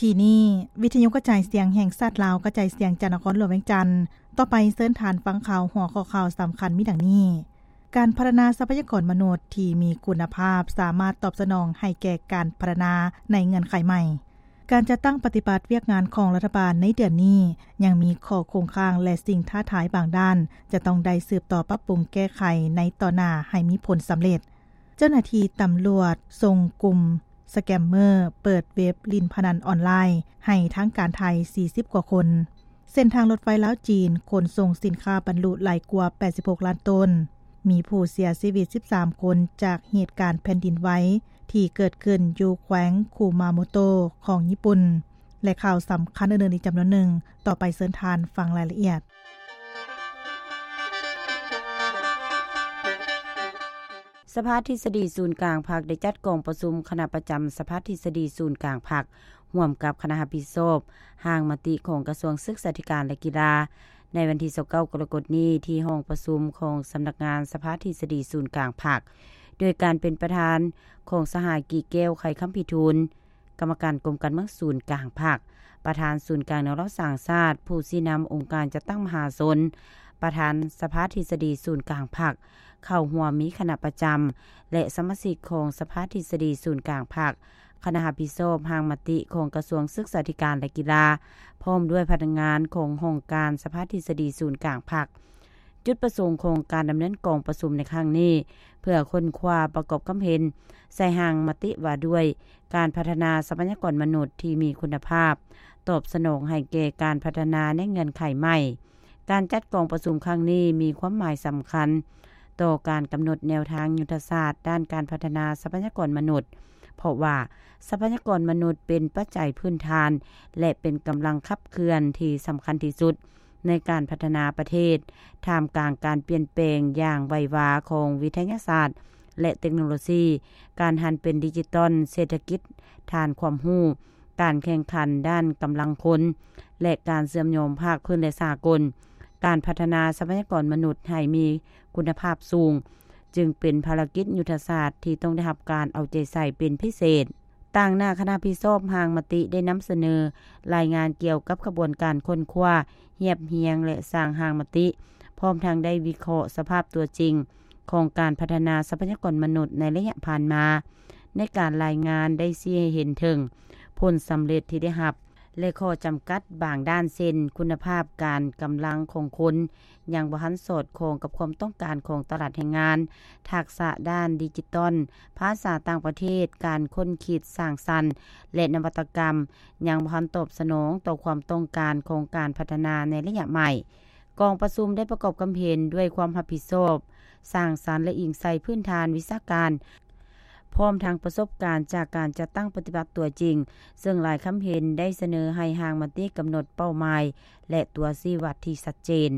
ທີ່ນີ້ ວິທະຍຸກະຈາຍສຽງແຫ່ງຊາດລາວ ກະຈາຍສຽງຈາກນະຄອນຫຼວງວຽງຈັນ. ຕໍ່ໄປເຊີນທ່ານຟັງຂ່າວ ຫົວຂໍ້ຂ່າວສຳຄັນມີດັ່ງນີ້: ການພັດທະນາຊັບພະຍາກອນມະນຸດທີ່ມີຄຸນນະພາບ ສາມາດຕອບສະໜອງໃຫ້ແກ່ການພັດທະນາໃນເງື່ອນໄຂໃໝ່. ການຈັດຕັ້ງປະຕິບັດວຽກງານຂອງລັດຖະບານໃນເດືອນນີ້ ຍັງມີຂໍ້ຄົງຄ້າງ ແລະ ສິ່ງທ້າທາຍບາງດ້ານ ຈະຕ້ອງໄດ້ສືບຕໍ່ປັບປຸງແກ້ໄຂໃນຕໍ່ໜ້າໃຫ້ມີຜົນສຳເລັດ. ເຈົ້າໜ້າທີ່ຕຳຫຼວດສົ່ງກຸ່ມສະແກມເມີເປີດເວັບຫຼິ້ນພະນັນອອນລາຍໃຫ້ທາງການໄທ ສີ່ສິບກວ່າຄົນ. ເສັ້ນທາງລົດໄຟລາວ-ຈີນຂົນສົ່ງສິນຄ້າບັນລຸຫຼາຍກວ່າ ແປດສິບຫົກລ້ານໂຕນ. ມີຜູ້ເສຍຊີວິດ ສິບສາມຄົນ ຈາກເຫດການແຜ່ນດິນໄຫວທີ່ເກີດຂຶ້ນຢູ່ແຂວງຄຸມາໂມໂຕະຂອງຍີ່ປຸ່ນ ແລະ ຂ່າວສຳຄັນອື່ນໆອີກຈຳນວນໜຶ່ງ. ຕໍ່ໄປເຊີນທ່ານຟັງລາຍລະອຽດ. ສະພາທິດສະດີສູນກາງພັກ ໄດ້ຈັດກອງປະຊຸມຄະນະປະຈຳສະພາທິດສະດີສູນກາງພັກ ຮ່ວມກັບຄະນະຮັບຜິດຊອບຮ່າງມະຕິຂອງກະຊວງສຶກສາທິການ ແລະ ກິລາ ໃນວັນທີ ຊາວເກົ້າ ກໍລະກົດນີ້ ທີ່ຫ້ອງປະຊຸມຂອງສຳນັກງານສະພາທິດສະດີສູນກາງພັກ ໂດຍການເປັນປະທານຂອງສະຫາຍ ກີແກ້ວ ໄຂຄຳພິທູນ ກຳມະການກົມການເມືອງສູນກາງພັກ, ປະທານສູນກາງແນວລາວສ້າງຊາດ, ຜູ້ຊີ້ນຳອົງການຈັດຕັ້ງມະຫາຊົນ, ປະທານສະພາທິດສະດີສູນກາງພັກ, ເຂົ້າຮ່ວມມີຄະນະປະຈຳ ແລະ ສະມາຊິກຂອງສະພາທິດສະດີສູນກາງພັກ, ຄະນະຮັບຜິດຊອບຮ່າງມະຕິຂອງກະຊວງສຶກສາທິການ ແລະ ກິລາ, ພ້ອມດ້ວຍພະນັກງານຂອງຫ້ອງການສະພາທິດສະດີສູນກາງພັກ. ຈຸດປະສົງຂອງການດຳເນີນກອງປະຊຸມໃນຄັ້ງນີ້ ເພື່ອຄົ້ນຄວ້າປະກອບຄຳເຫັນໃສ່ຮ່າງມະຕິວ່າດ້ວຍການພັດທະນາຊັບພະຍາກອນມະນຸດທີ່ມີຄຸນນະພາບ, ຕອບສະໜອງໃຫ້ແກ່ການພັດທະນາໃນເງື່ອນໄຂໃໝ່. ການຈັດກອງປະຊຸມຄັ້ງນີ້ມີຄວາມໝາຍສຳຄັນຕໍ່ການກຳນົດແນວທາງຍຸດທະສາດດ້ານການພັດທະນາຊັບພະຍາກອນມະນຸດ, ເພາະວ່າຊັບພະຍາກອນມະນຸດເປັນປັດໄຈພື້ນຖານ ແລະ ເປັນກຳລັງຂັບເຄື່ອນທີ່ສຳຄັນທີ່ສຸດ ໃນການພັດທະນາປະເທດ ທ່າມກາງການປ່ຽນແປງຢ່າງໄວວາຂອງວິທະຍາສາດ ແລະ ເຕັກໂນໂລຊີ, ການຫັນເປັນດິຈິຕອນ, ເສດຖະກິດຖານຄວາມຮູ້, ການແຂ່ງຂັນດ້ານກຳລັງຄົນ ແລະ ການເຊື່ອມໂຍງພາກພື້ນ ແລະ ສາກົນ. ການພັດທະນາຊັບພະຍາກອນມະນຸດໃຫ້ມີຄຸນນະພາບສູງ ຈຶ່ງເປັນພາລະກິດຍຸດທະສາດທີ່ຕ້ອງໄດ້ຮັບການເອົາໃຈໃສ່ເປັນພິເສດ. ຕາງໜ້າຄະນະຮັບຜິດຊອບຮ່າງມະຕິໄດ້ນຳສະເໜີລາຍງານກ່ຽວກັບຂະບວນການຄົ້ນຄວ້າ, ຮຽບຮຽງ ແລະ ສ້າງຮ່າງມະຕິ, ພ້ອມທັງໄດ້ວິເຄາະສະພາບຕົວຈິງຂອງການພັດທະນາຊັບພະຍາກອນມະນຸດໃນໄລຍະຜ່ານມາ. ໃນການລາຍງານໄດ້ຊີ້ໃຫ້ເຫັນເຖິງຜົນສຳເລັດທີ່ໄດ້ຮັບ ແລະ ຂໍ້ຈຳກັດບາງດ້ານ ເຊັ່ນ ຄຸນນະພາບການກຳລັງຂອງຄົນ ຍັງບໍ່ທັນສອດຄ່ອງກັບຄວາມຕ້ອງການຂອງຕະຫຼາດແຮງງານ, ທັກສະດ້ານດິຈິຕອນ, ພາສາຕ່າງປະເທດ, ການຄົ້ນຄິດສ້າງສັນ ແລະ ນະວັດຕະກຳ ຍັງບໍ່ທັນຕອບສະໜອງຕໍ່ຄວາມຕ້ອງການຂອງການພັດທະນາໃນໄລຍະໃໝ່. ກອງປະຊຸມໄດ້ປະກອບຄຳເຫັນດ້ວຍຄວາມຮັບຜິດຊອບ, ສ້າງສັນ ແລະ ອີງໃສ່ພື້ນຖານວິຊາການ, ພ້ອມທັງປະສົບການຈາກການຈັດຕັ້ງປະຕິບັດຕົວຈິງ, ເຊິ່ງຫຼາຍຄຳເຫັນໄດ້ສະເໜີໃຫ້ຮ່າງມະຕິກຳນົດເປົ້າໝາຍ ແລະ ຕົວຊີ້ວັດທີ່ຊັດເຈນ,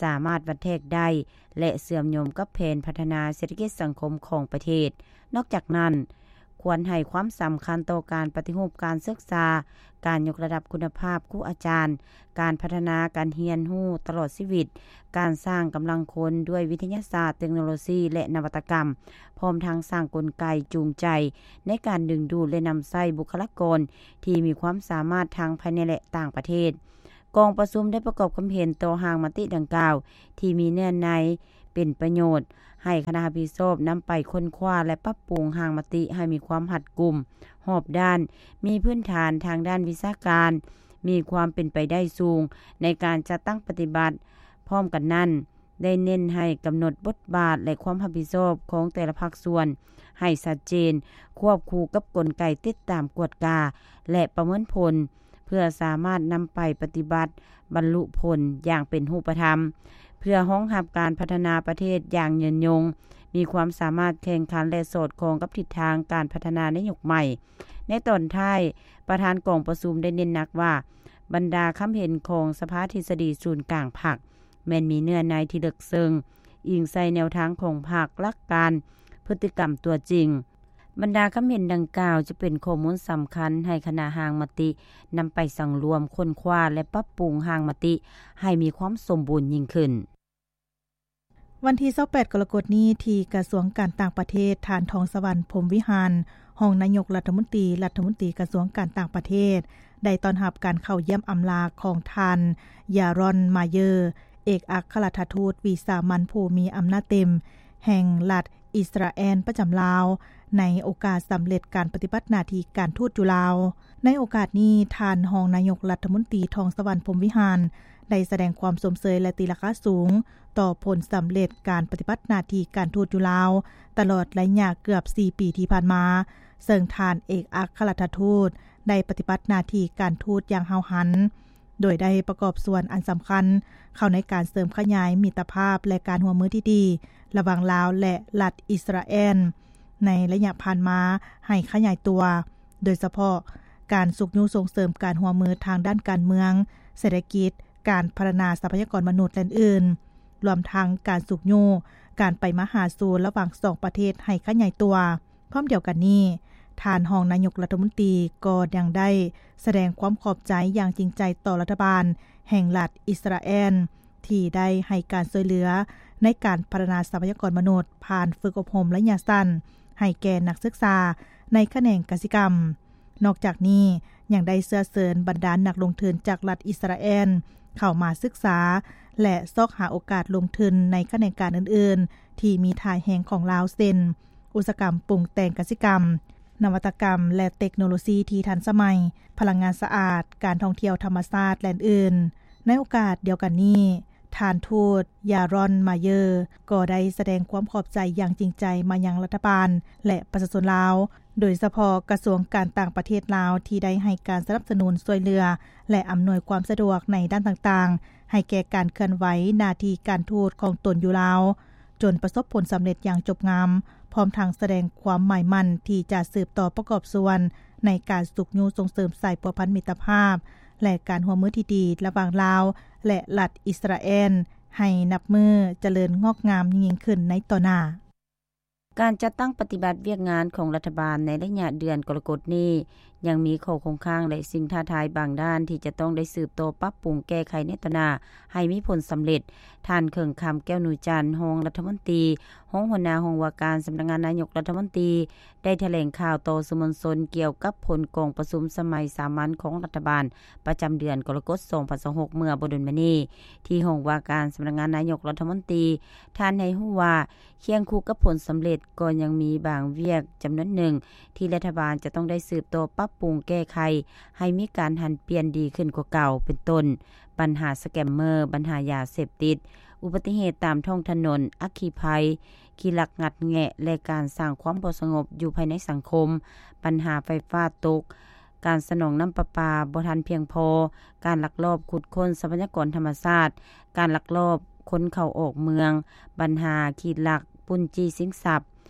ສາມາດວັດແທກໄດ້ ແລະ ເຊື່ອມໂຍງກັບແຜນພັດທະນາເສດຖະກິດສັງຄົມຂອງປະເທດ. ນອກຈາກນັ້ນ, ຄວນໃຫ້ຄວາມສຳຄັນຕໍ່ການປະຕິຮູບການສຶກສາ, ການຍົກລະດັບຄຸນນະພາບຄູອາຈານ, ການພັດທະນາການຮຽນຮູ້ຕະຫຼອດຊີວິດ, ການສ້າງກຳລັງຄົນດ້ວຍວິທະຍາສາດ, ເຕັກໂນໂລຊີ ແລະ ນະວັດຕະກຳ, ພ້ອມທັງສ້າງກົນໄກຈູງໃຈໃນການດຶງດູດ ແລະ ນຳໃຊ້ບຸກຄະລາກອນທີ່ມີຄວາມສາມາດທັງພາຍໃນ ແລະ ຕ່າງປະເທດ. ກອງປະຊຸມໄດ້ປະກອບຄຳເຫັນຕໍ່ຮ່າງມະຕິດັ່ງກ່າວ ທີ່ມີເນື້ອໃນເປັນປະໂຫຍດ, ໃຫ້ຄະນະຮັບຜິດຊອບນຳໄປຄົ້ນຄວ້າ ແລະ ປັບປຸງຮ່າງມະຕິໃຫ້ມີຄວາມຮັດກຸມ, ຮອບດ້ານ, ມີພື້ນຖານທາງດ້ານວິຊາການ, ມີຄວາມເປັນໄປໄດ້ສູງໃນການຈັດຕັ້ງປະຕິບັດ. ພ້ອມກັນນັ້ນ, ໄດ້ເນັ້ນໃຫ້ກຳນົດບົດບາດ ແລະ ຄວາມຮັບຜິດຊອບຂອງແຕ່ລະພາກສ່ວນໃຫ້ຊັດເຈນ, ຄວບຄູ່ກັບກົນໄກຕິດຕາມ, ກວດກາ ແລະ ປະເມີນຜົນ, ເພື່ອສາມາດນຳໄປປະຕິບັດບັນລຸຜົນຢ່າງເປັນຮູບປະທຳ, ເພື່ອຮອງຮັບການພັດທະນາປະເທດຢ່າງຍືນຍົງ, ມີຄວາມສາມາດແຂ່ງຂັນ ແລະ ສອດຄ່ອງກັບທິດທາງການພັດທະນາໃນຍຸກໃໝ່. ໃນຕອນທ້າຍ, ປະທານກອງປະຊຸມໄດ້ເນັ້ນໜັກວ່າ, ບັນດາຄຳເຫັນຂອງສະພາທິດສະດີສູນກາງພັກ ແມ່ນມີເນື້ອໃນທີ່ເລິກເຊິ່ງ, ອີງໃສ່ແນວທາງຂອງພັກ, ຫຼັກການ, ພຶດຕິກຳຕົວຈິງ. ບັນດາຄຳເຫັນດັ່ງກ່າວຈະເປັນຂໍ້ມູນສຳຄັນໃຫ້ຄະນະຮ່າງມະຕິນຳໄປສັງລວມ, ຄົ້ນຄວ້າ ແລະ ປັບປຸງຮ່າງມະຕິໃຫ້ມີຄວາມສົມບູນຍິ່ງຂຶ້ນ. ວັນທີຊາວແປດ ກໍລະກົດນີ້ ທີ່ກະຊວງການຕ່າງປະເທດ, ທ່ານ ທອງສະຫວັນ ພົມວິຫານ, ຮອງນາຍົກລັດຖະມົນຕີ, ລັດຖະມົນຕີກະຊວງການຕ່າງປະເທດ ໄດ້ຕ້ອນຮັບການເຂົ້າຢ້ຽມອຳລາຂອງທ່ານ ຢາຣອນ ມາເຢີ ເອກອັກຄະລັດຖະທູດວິສາມັນຜູ້ມີອຳນາດເຕັມແຫ່ງລັດອິດສະຣາແອນປະຈຳລາວ ໃນໂອກາດສຳເລັດການປະຕິບັດໜ້າທີ່ການທູດຢູ່ລາວ. ໃນໂອກາດນີ້, ທ່ານຮອງນາຍົກລັດຖະມົນຕີ ທອງສະຫວັນ ພົມວິຫານ ໄດ້ສະແດງຄວາມຊົມເຊີຍ ແລະ ຕີລາຄາສູງຕໍ່ຜົນສຳເລັດການປະຕິບັດໜ້າທີ່ການທູດຢູ່ລາວ ຕະຫຼອດໄລຍະເກືອບສີ່ປີທີ່ຜ່ານມາ, ເຊິ່ງທ່ານເອກອັກຄະລັດຖະທູດໄດ້ປະຕິບັດໜ້າທີ່ການທູດຢ່າງຫ້າວຫັນ, ໂດຍໄດ້ປະກອບສ່ວນອັນສຳຄັນເຂົ້າໃນການເສີມຂະຫຍາຍມິດຕະພາບ ແລະ ການຮ່ວມມືທີ່ດີລະຫວ່າງລາວ ແລະ ລັດອິດສະຣາແອນ ໃນໄລຍະຜ່ານມາໃຫ້ຂະຫຍາຍຕົວ, ໂດຍສະເພາະການຊຸກຍູ້ສົ່ງເສີມການຮ່ວມມືທາງດ້ານການເມືອງ, ເສດຖະກິດ, ການພັດທະນາຊັບພະຍາກອນມະນຸດ ແລະ ອື່ນໆ, ລວມທັງການຊຸກຍູ້ການໄປມາຫາສູ່ລະຫວ່າງສອງປະເທດໃຫ້ຂະຫຍາຍຕົວ. ພ້ອມດຽວກັນນີ້, ທ່ານຮອງນາຍົກລັດຖະມົນຕີກໍຍັງໄດ້ສະແດງຄວາມຂອບໃຈຢ່າງຈິງໃຈຕໍ່ລັດຖະບານແຫ່ງລັດອິດສະຣາແອນ ທີ່ໄດ້ໃຫ້ການຊ່ວຍເຫຼືອໃນການພັດທະນາຊັບພະຍາກອນມະນຸດ ຜ່ານຝຶກອົບຮົມໄລຍະສັ້ນໃຫ້ແກ່ນັກສຶກສາໃນຂະແໜງກະສິກຳ. ນອກຈາກນີ້, ຍັງໄດ້ເຊື້ອເຊີນບັນດານັກລົງທຶນຈາກລັດອິດສະຣາແອນເຂົ້າມາສຶກສາ ແລະ ຊອກຫາໂອກາດລົງທຶນໃນຂະແໜງການອື່ນໆ ທີ່ມີທ່າແຮງຂອງລາວ ເຊັ່ນ ອຸດສາຫະກຳປຸງແຕ່ງກະສິກຳ, ນະວັດຕະກຳ ແລະ ເຕັກໂນໂລຊີທີ່ທັນສະໄໝ, ພະລັງງານສະອາດ, ການທ່ອງທ່ຽວທຳມະຊາດ ແລະ ອື່ນໆ. ໃນໂອກາດດຽວກັນນີ້, ທ່ານທູດ ຢາຣອນ ມາເຢີ ກໍໄດ້ສະແດງຄວາມຂອບໃຈຢ່າງຈິງໃຈມາຍັງລັດຖະບານ ແລະ ປະຊາຊົນລາວ, ໂດຍສະເພາະກະຊວງການຕ່າງປະເທດລາວ ທີ່ໄດ້ໃຫ້ການສະໜັບສະໜູນຊ່ວຍເຫຼືອ ແລະ ອຳນວຍຄວາມສະດວກໃນດ້ານຕ່າງໆ ໃຫ້ແກ່ການເຄື່ອນໄຫວໜ້າທີ່ການທູດຂອງຕົນຢູ່ລາວ ຈົນປະສົບຜົນສຳເລັດຢ່າງຈົບງາມ, ພ້ອມທັງສະແດງຄວາມໝາຍໝັ້ນທີ່ຈະສືບຕໍ່ປະກອບສ່ວນໃນການຊຸກຍູ້ສົ່ງເສີມສາຍພົວພັນມິດຕະພາບ ແລະ ການຮ່ວມມືທີ່ດີລະຫວ່າງລາວ ແລະ ລັດອິດສະຣາແອນ ໃຫ້ນັບມື້ຈະເລີນງອກງາມຍິ່ງໆຂຶ້ນໃນຕໍ່ໜ້າ. ການຈັດຕັ້ງປະຕິບັດວຽກງານຂອງລັດຖະບານໃນໄລຍະເດືອນກໍລະກົດນີ້ ຍັງມີຂໍ້ຄົງຄ້າງ ແລະ ສິ່ງທ້າທາຍບາງດ້ານທີ່ຈະຕ້ອງໄດ້ສືບຕໍ່ປັບປຸງແກ້ໄຂໃນຕໍ່ໜ້າໃຫ້ມີຜົນສຳເລັດ. ທ່ານ ເຂີງຄຳ ແກ້ວນູຈັນ ຮອງລັດຖະມົນຕີ, ຮອງຫົວໜ້າຫ້ອງວ່າການສຳນັກງານນາຍົກລັດຖະມົນຕີ ໄດ້ຖະແຫຼງຂ່າວຕໍ່ສື່ມວນຊົນກ່ຽວກັບຜົນກອງປະຊຸມສະໄໝສາມັນຂອງລັດຖະບານປະຈຳເດືອນກໍລະກົດ ສອງພັນຊາວຫົກ ເມື່ອບໍ່ດົນມານີ້ ທີ່ຫ້ອງວ່າການສຳນັກງານນາຍົກລັດຖະມົນຕີ. ທ່ານໃຫ້ຮູ້ວ່າ ຄຽງຄູ່ກັບຜົນສຳເລັດ ກໍຍັງມີບາງວຽກຈຳນວນໜຶ່ງ ທີ່ລັດຖະບານຈະຕ້ອງໄດ້ສືບຕໍ່ປັບປຸງແກ້ໄຂ ໃຫ້ມີການຫັນປ່ຽນດີຂຶ້ນກວ່າເກົ່າ, ເປັນຕົ້ນ ບັນຫາສະແກມເມີ, ບັນຫາຢາເສບຕິດ, ອຸບັດຕິເຫດຕາມທ້ອງຖະໜົນ, ອັກຄີໄພ, ຂີ້ລັກງັດແງະ ແລະ ການສ້າງຄວາມບໍ່ສະຫງົບຢູ່ພາຍໃນສັງຄົມ, ບັນຫາໄຟຟ້າຕົກ, ການສະໜອງນ້ຳປະປາບໍ່ທັນພຽງພໍ, ການລັກລອບຂຸດຄົ້ນຊັບພະຍາກອນທຳມະຊາດ, ການລັກລອບຄົນເຂົ້າອອກເມືອງ, ບັນຫາຂີ້ລັກປຸ້ນຈີ້ຊິງຊັບ,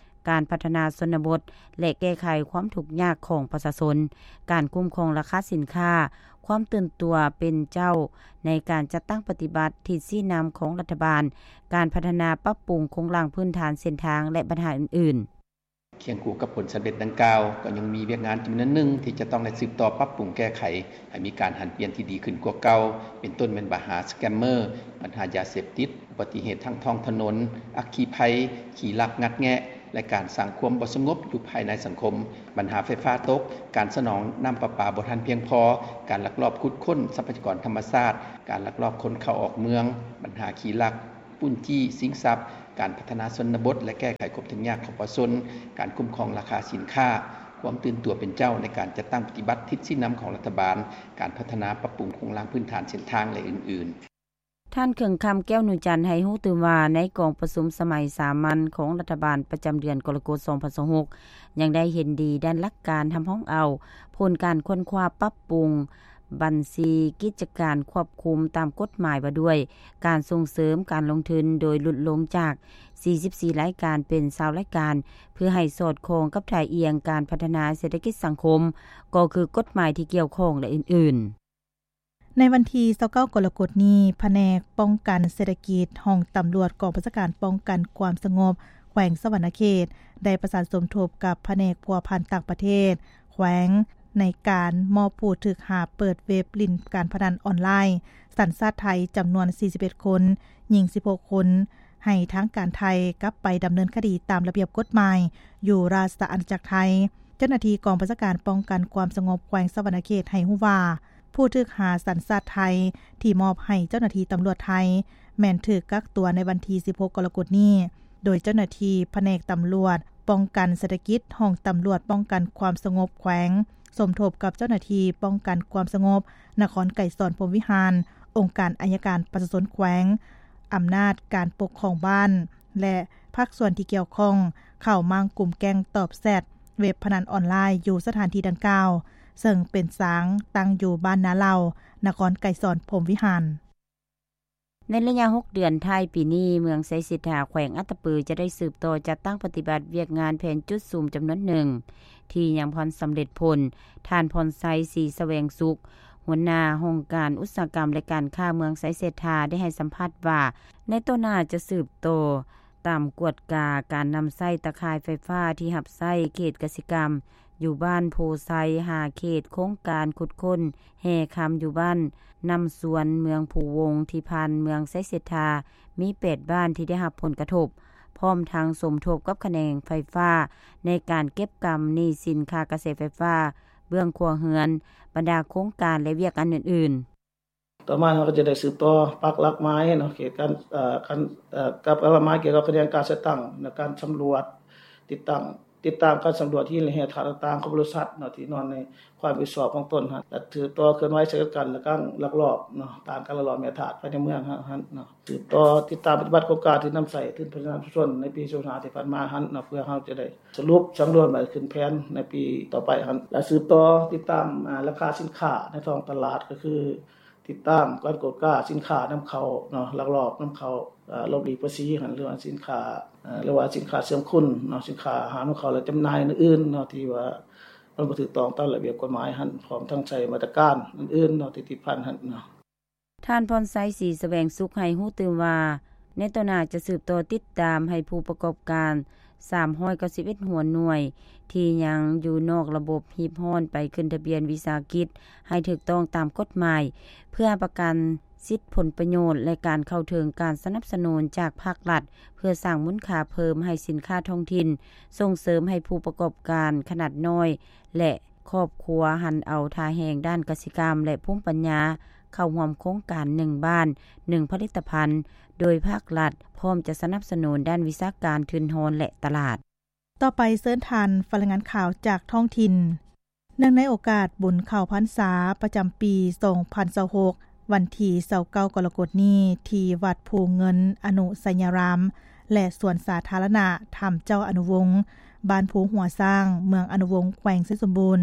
ການພັດທະນາຊົນນະບົດ ແລະ ແກ້ໄຂຄວາມທຸກຍາກຂອງປະຊາຊົນ, ການຄຸ້ມຄອງລາຄາສິນຄ້າ, ຄວາມຕື່ນຕົວເປັນເຈົ້າໃນການຈັດຕັ້ງປະຕິບັດທິດຊີ້ນຳຂອງລັດຖະບານ, ການພັດທະນາປັບປຸງໂຄງລ່າງພື້ນຖານເສັ້ນທາງ ແລະ ບັນຫາອື່ນໆ. ຄຽງຄູ່ກັບຜົນສຳເລັດດັ່ງກ່າວ, ກໍຍັງມີວຽກງານຈຳນວນໜຶ່ງທີ່ຈະຕ້ອງໄດ້ສືບຕໍ່ປັບປຸງແກ້ໄຂ ໃຫ້ມີການຫັນປ່ຽນທີ່ດີຂຶ້ນກວ່າເກົ່າ, ເປັນຕົ້ນແມ່ນບັນຫາສະແກມເມີ, ບັນຫາຢາເສບຕິດ, ອຸບັດຕິເຫດທາງທ້ອງຖະໜົນ, ອັກຄີໄພ, ຂີ້ລັກງັດແງະ ແລະ ການສ້າງຄວາມບໍ່ສະຫງົບຢູ່ພາຍໃນສັງຄົມ, ບັນຫາໄຟຟ້າຕົກ, ການສະໜອງນ້ຳປະປາບໍ່ທັນພຽງພໍ, ການລັກລອບຂຸດຄົ້ນຊັບພະຍາກອນທຳມະຊາດ, ການລັກລອບຄົນເຂົ້າອອກເມືອງ, ບັນຫາຂີ້ລັກ ປຸ້ນຈີ້ຊິງຊັບ, ການພັດທະນາຊົນນະບົດ ແລະ ແກ້ໄຂຄວາມທຸກຍາກຂອງປະຊາຊົນ, ການຄຸ້ມຄອງລາຄາສິນຄ້າ, ຄວາມຕື່ນຕົວເປັນເຈົ້າໃນການຈັດຕັ້ງປະຕິບັດທິດຊີ້ນຳຂອງລັດຖະບານ, ການພັດທະນາປັບປຸງໂຄງລ່າງພື້ນຖານເສັ້ນທາງ ແລະ ອື່ນໆ. ທ່ານ ເຂີງຄຳ ແກ້ວນູຈັນ ໃຫ້ຮູ້ຕື່ມວ່າ ໃນກອງປະຊຸມສະໄໝສາມັນຂອງລັດຖະບານປະຈຳເດືອນກໍລະກົດ ສອງພັນຊາວຫົກ ຍັງໄດ້ເຫັນດີດ້ານຫຼັກການຮັບຮອງເອົາຜົນການຄົ້ນຄວ້າປັບປຸງ ບັນຊີກິດຈະການຄວບຄຸມຕາມກົດໝາຍວ່າດ້ວຍການສົ່ງເສີມການລົງທຶນ ໂດຍຫຼຸດລົງຈາກສີ່ສິບສີ່ລາຍການເປັນຊາວລາຍການ ເພື່ອໃຫ້ສອດຄ່ອງກັບທ່າອ່ຽງການພັດທະນາເສດຖະກິດສັງຄົມ ກໍຄືກົດໝາຍທີ່ກ່ຽວຂ້ອງ ແລະ ອື່ນໆ. ໃນວັນທີຊາວເກົ້າ ກໍລະກົດນີ້, ພະແນກປ້ອງກັນເສດຖະກິດ ຫ້ອງຕຳຫຼວດກອງບັນຊາການປ້ອງກັນຄວາມສະຫງົບແຂວງສະຫວັນນະເຂດ ໄດ້ປະສານສົມທົບກັບພະແນກພົວພັນຕ່າງປະເທດ ແຂວງ ໃນການມອບຜູ້ຖືກຫາເປີດເວັບຫຼິ້ນການພະນັນອອນລາຍສັນຊາດໄທ ຈຳນວນສີ່ສິບເອັດຄົນ, ຍິງສິບຫົກຄົນ ໃຫ້ທາງການໄທກັບໄປດຳເນີນຄະດີຕາມລະບຽບກົດໝາຍຢູ່ລາຊະອານາຈັກໄທ. ເຈົ້າໜ້າທີ່ກອງບັນຊາການປ້ອງກັນຄວາມສະຫງົບແຂວງສະຫວັນນະເຂດໃຫ້ຮູ້ວ່າ ຜູ້ຖືກຫາສັນຊາດໄທທີ່ມອບໃຫ້ເຈົ້າໜ້າທີ່ຕຳຫຼວດໄທ ແມ່ນຖືກກັກຕົວໃນວັນທີສິບຫົກ ກໍລະກົດນີ້ ໂດຍເຈົ້າໜ້າທີ່ພະແນກຕຳຫຼວດປ້ອງກັນເສດຖະກິດ ຫ້ອງຕຳຫຼວດປ້ອງກັນຄວາມສະຫງົບແຂວງ ສົມທົບກັບເຈົ້າໜ້າທີ່ປ້ອງກັນຄວາມສະຫງົບນະຄອນໄກສອນ ພົມວິຫານ, ອົງການໄອຍະການປະຊາຊົນແຂວງ, ອຳນາດການປົກຄອງບ້ານ ແລະ ພາກສ່ວນທີ່ກ່ຽວຂ້ອງ ເຂົ້າມ້າງກຸ່ມແກ້ງຕອບແຊັດ ເວັບພະນັນອອນລາຍ ຢູ່ສະຖານທີ່ດັ່ງກ່າວ, ເຊິ່ງເປັນສາງຕັ້ງຢູ່ບ້ານນາເຫຼົ່າ, ນະຄອນໄກສອນ ພົມວິຫານ. ໃນໄລຍະຫົກເດືອນທ້າຍປີນີ້, ເມືອງໄຊເສດຖາ ແຂວງອັດຕະປື ຈະໄດ້ສືບຕໍ່ຈັດຕັ້ງປະຕິບັດວຽກງານແຜນຈຸດສຸມຈຳນວນໜຶ່ງ ທີ່ຍັງບໍ່ທັນສຳເລັດຜົນ. ທ່ານ ພອນໄຊ ສີສະແຫວງສຸກ, ຫົວໜ້າຫ້ອງການອຸດສາຫະກຳ ແລະ ການຄ້າເມືອງໄຊເສດຖາ ໄດ້ໃຫ້ສຳພາດວ່າ ໃນຕໍ່ໜ້າຈະສືບຕໍ່ ຕາມກວດກາການນຳໃຊ້ຕາຂ່າຍໄຟຟ້າທີ່ຮັບໃຊ້ເຂດກະສິກຳ ຢູ່ບ້ານໂພໄຊ ຫາເຂດໂຄງການຂຸດຄົ້ນແຮ່ຄຳຢູ່ບ້ານນ້ຳຊວນ ເມືອງພູວົງ ທີ່ຜ່ານເມືອງໄຊເສດຖາ ມີແປດບ້ານທີ່ໄດ້ຮັບຜົນກະທົບ, ພ້ອມທັງສົມທົບກັບຂະແໜງໄຟຟ້າ ໃນການເກັບກຳໜີ້ສິນຄ່າກະແສໄຟຟ້າເບື້ອງຄົວເຮືອນ, ບັນດາໂຄງການ ແລະ ວຽກງານອື່ນໆ. ຕໍ່ມາເຮົາກໍຈະໄດ້ສືບຕໍ່ປັກຫຼັກໝາຍເນາະ ເຂດການ ເອີ ການ ເອີ ກັບຫຼັກໝາຍກ່ຽວກັບຂະແໜງການຈັດຕັ້ງ ແລະ ການສຳຫຼວດ ຕິດຕັ້ງ ຕິດຕາມການສຳຫຼວດຫີນ ແລະ ແຮ່ທາດຕ່າງໆ ຂອງບໍລິສັດເນາະ ທີ່ນອນໃນຄວາມຮັບຜິດຊອບຂອງຕົນຫັ້ນ ແລະ ສືບຕໍ່ເຄື່ອນໄຫວໃສ່ກັນ ແລະ ການລັກລອບເນາະ ຕ້ານການລັກລອບແຮ່ທາດພາຍໃນເມືອງເຮົາຫັ້ນເນາະ ສືບຕໍ່ຕິດຕາມປະຕິບັດໂຄງການທີ່ນຳໃຊ້ທຶນພັດທະນາຊຸມຊົນໃນປີສອງພັນຊາວຫ້າທີ່ຜ່ານມາຫັ້ນເນາະ ເພື່ອເຮົາຈະໄດ້ສະຫຼຸບສຳນວນໄວ້ຂຶ້ນແຜນໃນປີຕໍ່ໄປຫັ້ນ ແລະ ສືບຕໍ່ຕິດຕາມ ອາ ລາຄາສິນຄ້າໃນທ້ອງຕະຫຼາດ ກໍຄື ຕິດຕາມການກວດກາສິນຄ້ານຳເຂົ້າເນາະ ລັກລອບນຳເຂົ້າ ເອີ ຫຼົບຫຼີກພາສີຫັ້ນ ຫຼືວ່າສິນຄ້າ ເອີ ຫຼືວ່າສິນຄ້າເຊື່ອມຄຸນເນາະ ສິນຄ້າຫ້າມນຳເຂົ້າ ແລະ ຈຳໜ່າຍອື່ນໆເນາະ ທີ່ວ່າມັນບໍ່ຖືກຕ້ອງຕາມລະບຽບກົດໝາຍຫັ້ນ ພ້ອມທັງໃຊ້ມາດຕະການອື່ນໆເນາະ ທີ່ຕິດພັນຫັ້ນເນາະ. ທ່ານ ພອນໄຊ ສີສະແຫວງສຸກ ໃຫ້ຮູ້ຕື່ມວ່າ ໃນຕໍ່ໜ້າຈະສືບຕໍ່ຕິດຕາມໃຫ້ຜູ້ປະກອບການ ສາມຮ້ອຍເກົ້າສິບເອັດຫົວໜ່ວຍ ທີ່ຍັງຢູ່ນອກລະບົບຮີບຮ້ອນໄປຂຶ້ນທະບຽນວິສາຫະກິດໃຫ້ຖືກຕ້ອງຕາມກົດໝາຍ ເພື່ອປະກັນສິດຜົນປະໂຫຍດ ແລະ ການເຂົ້າເຖິງການສະໜັບສະໜູນຈາກພາກລັດ ເພື່ອສ້າງມູນຄ່າເພີ່ມໃຫ້ສິນຄ້າທ້ອງຖິ່ນ, ສົ່ງເສີມໃຫ້ຜູ້ປະກອບການຂະໜາດນ້ອຍ ແລະ ຄອບຄົວຫັນເອົາທ່າແຮງດ້ານກະສິກຳ ແລະ ພູມປັນຍາ ເຂົ້າຮ່ວມໂຄງການໜຶ່ງບ້ານ ໜຶ່ງຜະລິດຕະພັນ ໂດຍພາກລັດພ້ອມຈະສະໜັບສະໜູນດ້ານວິຊາການ, ທຶນຮອນ ແລະ ຕະຫຼາດ. ຕໍ່ໄປເຊີນທ່ານຟັງລາຍງານຂ່າວຈາກທ້ອງຖິ່ນ. ເນື່ອງໃນໂອກາດບຸນເຂົ້າພັນສາປະຈຳປີສອງພັນຊາວຫົກ ວັນທີຊາວເກົ້າ ກໍລະກົດນີ້ ທີ່ວັດພູເງິນອະນຸໄຊຍາລາມ ແລະ ສວນສາທາລະນະທຳເຈົ້າອະນຸວົງ ບ້ານພູຫົວຊ້າງ ເມືອງອະນຸວົງ ແຂວງໄຊສົມບູນ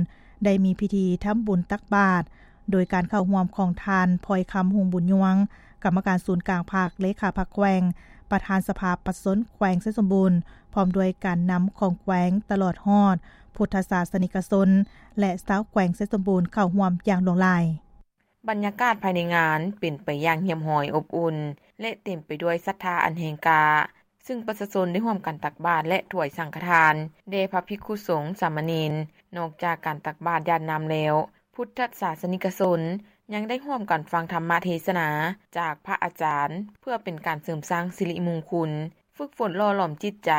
ໄດ້ມີພິທີທຳບຸນຕັກບາດ ໂດຍການເຂົ້າຮ່ວມຂອງທ່ານ ພອຍຄຳ ຮຸ່ງບຸນຍວງ ກຳມະການສູນກາງພັກ, ເລຂາພັກແຂວງ, ປະທານສະພາປະຊາຊົນແຂວງໄຊສົມບູນ ພ້ອມດ້ວຍການນຳຂອງແຂວງ ຕະຫຼອດຮອດພຸດທະສາສະນິກະຊົນ ແລະ ຊາວແຂວງໄຊສົມບູນ ເຂົ້າຮ່ວມຢ່າງຫຼວງຫຼາຍ. ບັນຍາກາດພາຍໃນງານເປັນໄປຢ່າງຮຽບຮ້ອຍ, ອົບອຸ່ນ ແລະ ເຕັມໄປດ້ວຍສັດທາອັນແຮງກ້າ, ຊຶ່ງປະຊາຊົນໄດ້ຮ່ວມກັນຕັກບາດ ແລະ ຖວາຍສັງຄະທານແດ່ພະພິກຂຸສົງ, ສາມະເນນ. ນອກຈາກການຕັກບາດຢາດນ້ຳແລ້ວ, ພຸດທະສາສະນິກະຊົນຍັງໄດ້ຮ່ວມກັນຟັງທຳມະເທສະໜາຈາກພະອາຈານ ເພື່ອເປັນການເສີມສ້າງສິລິມຸງຄຸນ, ຝຶກຝົນຫຼໍ່ຫຼອມຈິດໃຈ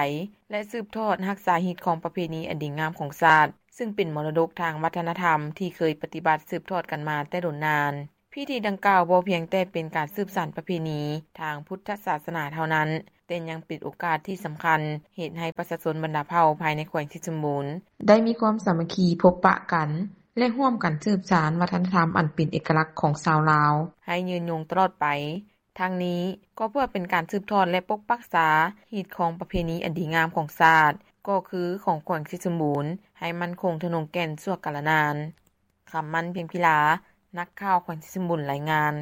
ແລະ ສືບທອດຮັກສາຮີດຄອງປະເພນີອັນດີງາມຂອງຊາດ, ຊຶ່ງເປັນມໍລະດົກທາງວັດທະນະທຳທີ່ເຄີຍປະຕິບັດສືບທອດກັນມາແຕ່ດົນນານ. ພິທີດັ່ງກ່າວບໍ່ພຽງແຕ່ເປັນການສືບສານປະເພນີທາງພຸດທະສາສະໜາເທົ່ານັ້ນ, ແຕ່ຍັງເປັນໂອກາດທີ່ສຳຄັນ ເຮັດໃຫ້ປະຊາຊົນບັນດາເຜົ່າພາຍໃນແຂວງໄຊສົມບູນ ໄດ້ມີຄວາມສາມັກຄີພົບປະກັນ ແລະ ຮ່ວມກັນສືບສານວັດທະນະທຳອັນເປັນເອກະລັກຂອງຊາວລາວ ໃຫ້ຍືນຍົງຕະຫຼອດໄປ. ທັງນີ້ກໍເພື່ອເປັນການສືບທອດ ແລະ ປົກປັກສາຮີດຄອງປະເພນີອັນດີງາມຂອງຊາດ, ກໍຄືຂອງແຂວງໄຊສົມບູນ ໃຫ້ໝັ້ນຄົງທະນົງແກ່ນຊົ່ວກາລະນານ. ຄຳໝັ້ນ ພຽງພິລາ, ນັກຂ່າວແຂວງໄຊສົມບູນ ລາຍງານ.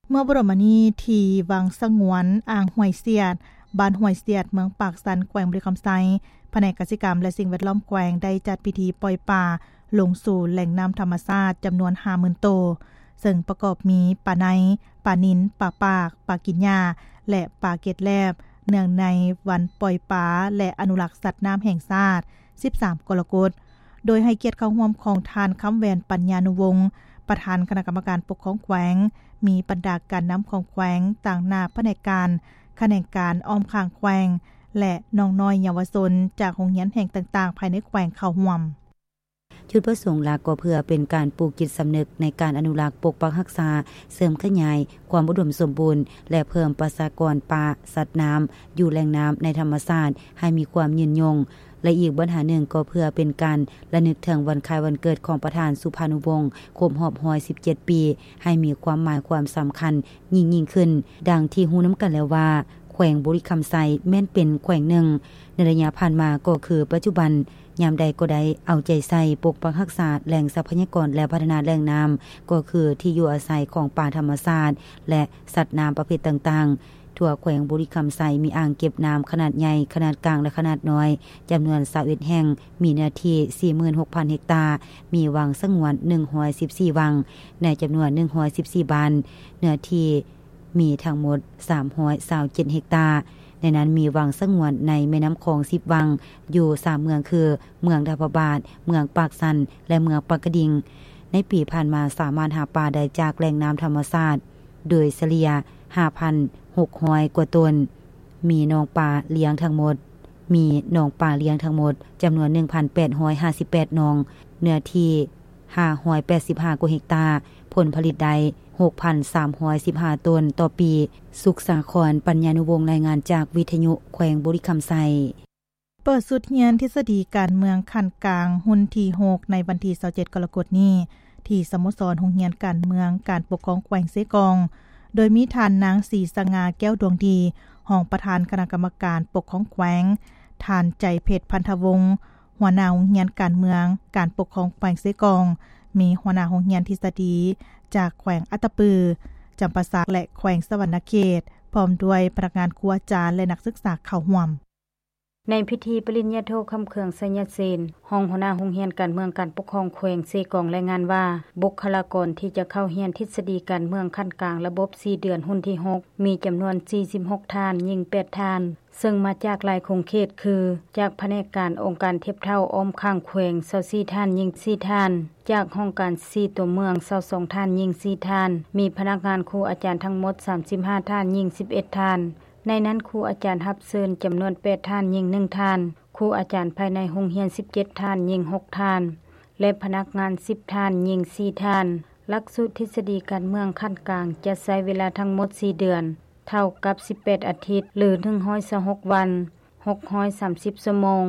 ເມື່ອບໍ່ດົນມານີ້ ທີ່ວັງສະຫງວນອ່າງຫ້ວຍສຽດ, ບ້ານຫ້ວຍສຽດ, ເມືອງປາກຊັນ, ແຂວງບໍລິຄຳໄຊ, ພະແນກກະສິກຳ ແລະ ສິ່ງແວດລ້ອມແຂວງ ໄດ້ຈັດພິທີປ່ອຍປາລົງສູ່ແຫຼ່ງນ້ຳທຳມະຊາດ ຈຳນວນຫ້າໝື່ນໂຕ, ເຊິ່ງປະກອບມີປາໄນ, ປານິນ, ປາປາກ, ປາກິນຫຍ້າ ແລະ ປາເກັດແລບ, ເນື່ອງໃນວັນປ່ອຍປາ ແລະ ອະນຸລັກສັດນ້ຳແຫ່ງຊາດ ສິບສາມ ກໍລະກົດ, ໂດຍໃຫ້ກຽດເຂົ້າຮ່ວມຂອງທ່ານ ຄຳແຫວນ ປັນຍານຸວົງ, ປະທານຄະນະກຳມະການປົກຄອງແຂວງ, ມີບັນດາການນຳຂອງແຂວງ, ຕາງໜ້າພະແນກການ, ຂະແໜງການອ້ອມຂ້າງແຂວງ ແລະ ນ້ອງນ້ອຍເຍົາວະຊົນຈາກໂຮງຮຽນແຫ່ງຕ່າງໆ ພາຍໃນແຂວງເຂົ້າຮ່ວມ. ຈຸດປະສົງຫຼັກກໍເພື່ອເປັນການປູກຈິດສຳນຶກໃນການອະນຸລັກ, ປົກປັກຮັກສາ, ເສີມຂະຫຍາຍຄວາມອຸດົມສົມບູນ ແລະ ເພີ່ມປະຊາກອນປ່າ, ສັດນ້ຳ, ຢູ່ແຫຼ່ງນ້ຳໃນທຳມະຊາດໃຫ້ມີຄວາມຍືນຍົງ ແລະ ອີກບັນຫາໜຶ່ງກໍເພື່ອເປັນການລະນຶກເຖິງວັນຄ້າຍວັນເກີດຂອງປະທານສຸພານຸວົງ ຄົບຮອບຮ້ອຍສິບເຈັດປີ ໃຫ້ມີຄວາມໝາຍຄວາມສຳຄັນຍິ່ງໆຂຶ້ນ. ດັ່ງທີ່ຮູ້ນຳກັນແລ້ວວ່າ ແຂວງບໍລິຄຳໄຊແມ່ນເປັນແຂວງໜຶ່ງໃນໄລຍະຜ່ານມາກໍຄືປັດຈຸບັນ ຍາມໃດກໍໄດ້ເອົາໃຈໃສ່ປົກປັກຮັກສາແຫຼ່ງຊັບພະຍາກອນ ແລະ ພັດທະນາແຫຼ່ງນ້ຳ ກໍຄືທີ່ຢູ່ອາໄສຂອງປາທຳມະຊາດ ແລະ ສັດນ້ຳປະເພດຕ່າງໆ. ທົ່ວແຂວງບໍລິຄຳໄຊມີອ່າງເກັບນ້ຳຂະໜາດໃຫຍ່, ຂະໜາດກາງ ແລະ ຂະໜາດນ້ອຍ ຈຳນວນຊາວເອັດແຫ່ງ, ມີເນື້ອທີ່ສີ່ໝື່ນຫົກພັນເຮັກຕາ, ມີວັງສະຫງວນໜຶ່ງຮ້ອຍສິບສີ່ວັງ, ໃນຈຳນວນໜຶ່ງຮ້ອຍສິບສີ່ບ້ານ, ເນື້ອທີ່ ມີທັງໝົດສາມຮ້ອຍຊາວເຈັດເຮັກຕາ. ໃນນັ້ນມີວັງສະຫງວນໃນແມ່ນ້ຳຂອງສິບວັງ ຢູ່ສາມເມືອງຄື ເມືອງດາວພະບາດ, ເມືອງປາກຊັນ ແລະ ເມືອງປາກກະດິງ. ໃນປີຜ່ານມາສາມາດຫາປາໄດ້ຈາກແຫຼ່ງນ້ຳທຳມະຊາດໂດຍສະເລ່ຍຫ້າພັນຫົກຮ້ອຍກວ່າຕົນ. ມີໜອງປາລ້ຽງທັງໝົດ ມີໜອງປາລ້ຽງທັງໝົດຈຳນວນໜຶ່ງພັນແປດຮ້ອຍຫ້າສິບແປດໜອງ, ເນື້ອທີ່ ຫ້າຮ້ອຍແປດສິບຫ້າກວ່າເຮັກຕາ, ຜົນຜະລິດໄດ້ຫົກພັນສາມຮ້ອຍສິບຫ້າໂຕນຕໍ່ປີ. ສຸກສາຄອນ ປັນຍານຸວົງ ລາຍງານຈາກວິທະຍຸແຂວງບໍລິຄຳໄຊ. ເປີດຊຸດຮຽນທິດສະດີການເມືອງຂັ້ນກາງຮຸ່ນທີຫົກ ໃນວັນທີຊາວເຈັດກໍລະກົດນີ້ ທີ່ສະໂມສອນໂຮງຮຽນການເມືອງການປົກຄອງແຂວງເຊກອງ ໂດຍມີທ່ານນາງ ສີສະຫງ່າ ແກ້ວດວງດີ ຮອງປະທານຄະນະກຳມະການປົກຄອງແຂວງ, ທ່ານ ໃຈເພັດ ພັນທະວົງ ຫົວໜ້າໂຮງຮຽນການເມືອງການປົກຄອງແຂວງເຊກອງ, ມີຫົວໜ້າໂຮງຮຽນທິດສະດີຈາກແຂວງອັດຕະປື, ຈຳປາສັກ ແລະ ແຂວງສະຫວັນນະເຂດ, ພ້ອມດ້ວຍພະນັກງານ, ຄູອາຈານ ແລະ ນັກສຶກສາເຂົ້າຮ່ວມ. ໃນພິທີປະລິນຍາໂທ ຄຳເຄືອງ ໄຊຍະເສນ ຮອງຫົວໜ້າໂຮງຮຽນການເມືອງການປົກຄອງແຂວງເຊກອງລາຍງານວ່າ ບຸກຄະລາກອນທີ່ຈະເຂົ້າຮຽນທິດສະດີການເມືອງຂັ້ນກາງລະບົບສີ່ເດືອນຮຸ່ນທີຫົກ ມີຈຳນວນສີ່ສິບຫົກທ່ານ, ຍິງແປດທ່ານ, ເຊິ່ງມາຈາກຫຼາຍຂົງເຂດຄື ຈາກພະແນກການອົງການທຽບເທົ່າອ້ອມຂ້າງແຂວງຊາວສີ່ທ່ານ, ຍິງສີ່ທ່ານ, ຈາກຫ້ອງການສີ່ຕົວເມືອງຊາວສອງທ່ານ, ຍິງສີ່ທ່ານ, ມີພະນັກງານ, ຄູອາຈານທັງໝົດສາມສິບຫ້າທ່ານ, ຍິງສິບເອັດທ່ານ. ໃນນັ້ນຄູອາຈານຮັບເຊີນຈຳນວນແປດທ່ານ, ຍິງໜຶ່ງທ່ານ, ຄູອາຈານພາຍໃນໂຮງຮຽນສິບເຈັດທ່ານ, ຍິງຫົກທ່ານ ແລະ ພະນັກງານສິບທ່ານ, ຍິງສີ່ທ່ານ. ຫຼັກສູດທິດສະດີການເມືອງຂັ້ນກາງຈະໃຊ້ເວລາທັງໝົດສີ່ເດືອນ, ເທົ່າກັບສິບແປດອາທິດ ຫຼື ໜຶ່ງຮ້ອຍຊາວຫົກວັນ, ຫົກຮ້ອຍສາມສິບຊົ່ວໂມງ,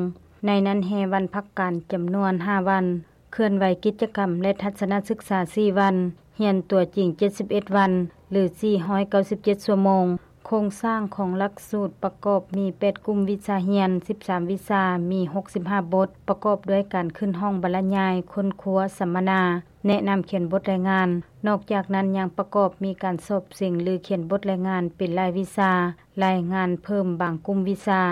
ໃນນັ້ນແຮ່ວັນພັກການຈຳນວນຫ້າວັນ, ເຄື່ອນໄຫວກິດຈະກຳ ແລະ ທັດສະນະສຶກສາສີ່ວັນ, ຮຽນຕົວຈິງເຈັດສິບເອັດວັນ ຫຼື ສີ່ຮ້ອຍເກົ້າສິບເຈັດຊົ່ວໂມງ. ໂຄງສ້າງຂອງຫຼັກສູດປະກອບມີແປດກຸ່ມວິຊາຮຽນ, ສິບສາມວິຊາ, ມີຫົກສິບຫ້າບົດ, ປະກອບດ້ວຍການຂຶ້ນຫ້ອງບັນລະຍາຍ, ຄົ້ນຄວ້າ, ສຳມະນາ, ແນະນຳຂຽນບົດລາຍງານ. ນອກຈາກນັ້ນຍັງປະກອບມີການສອບເສັງ ຫຼື ຂຽນບົດລາຍງານເປັນລາຍວິຊາ, ລາຍງານເພີ່ມບາງກຸ່ມວິຊາ,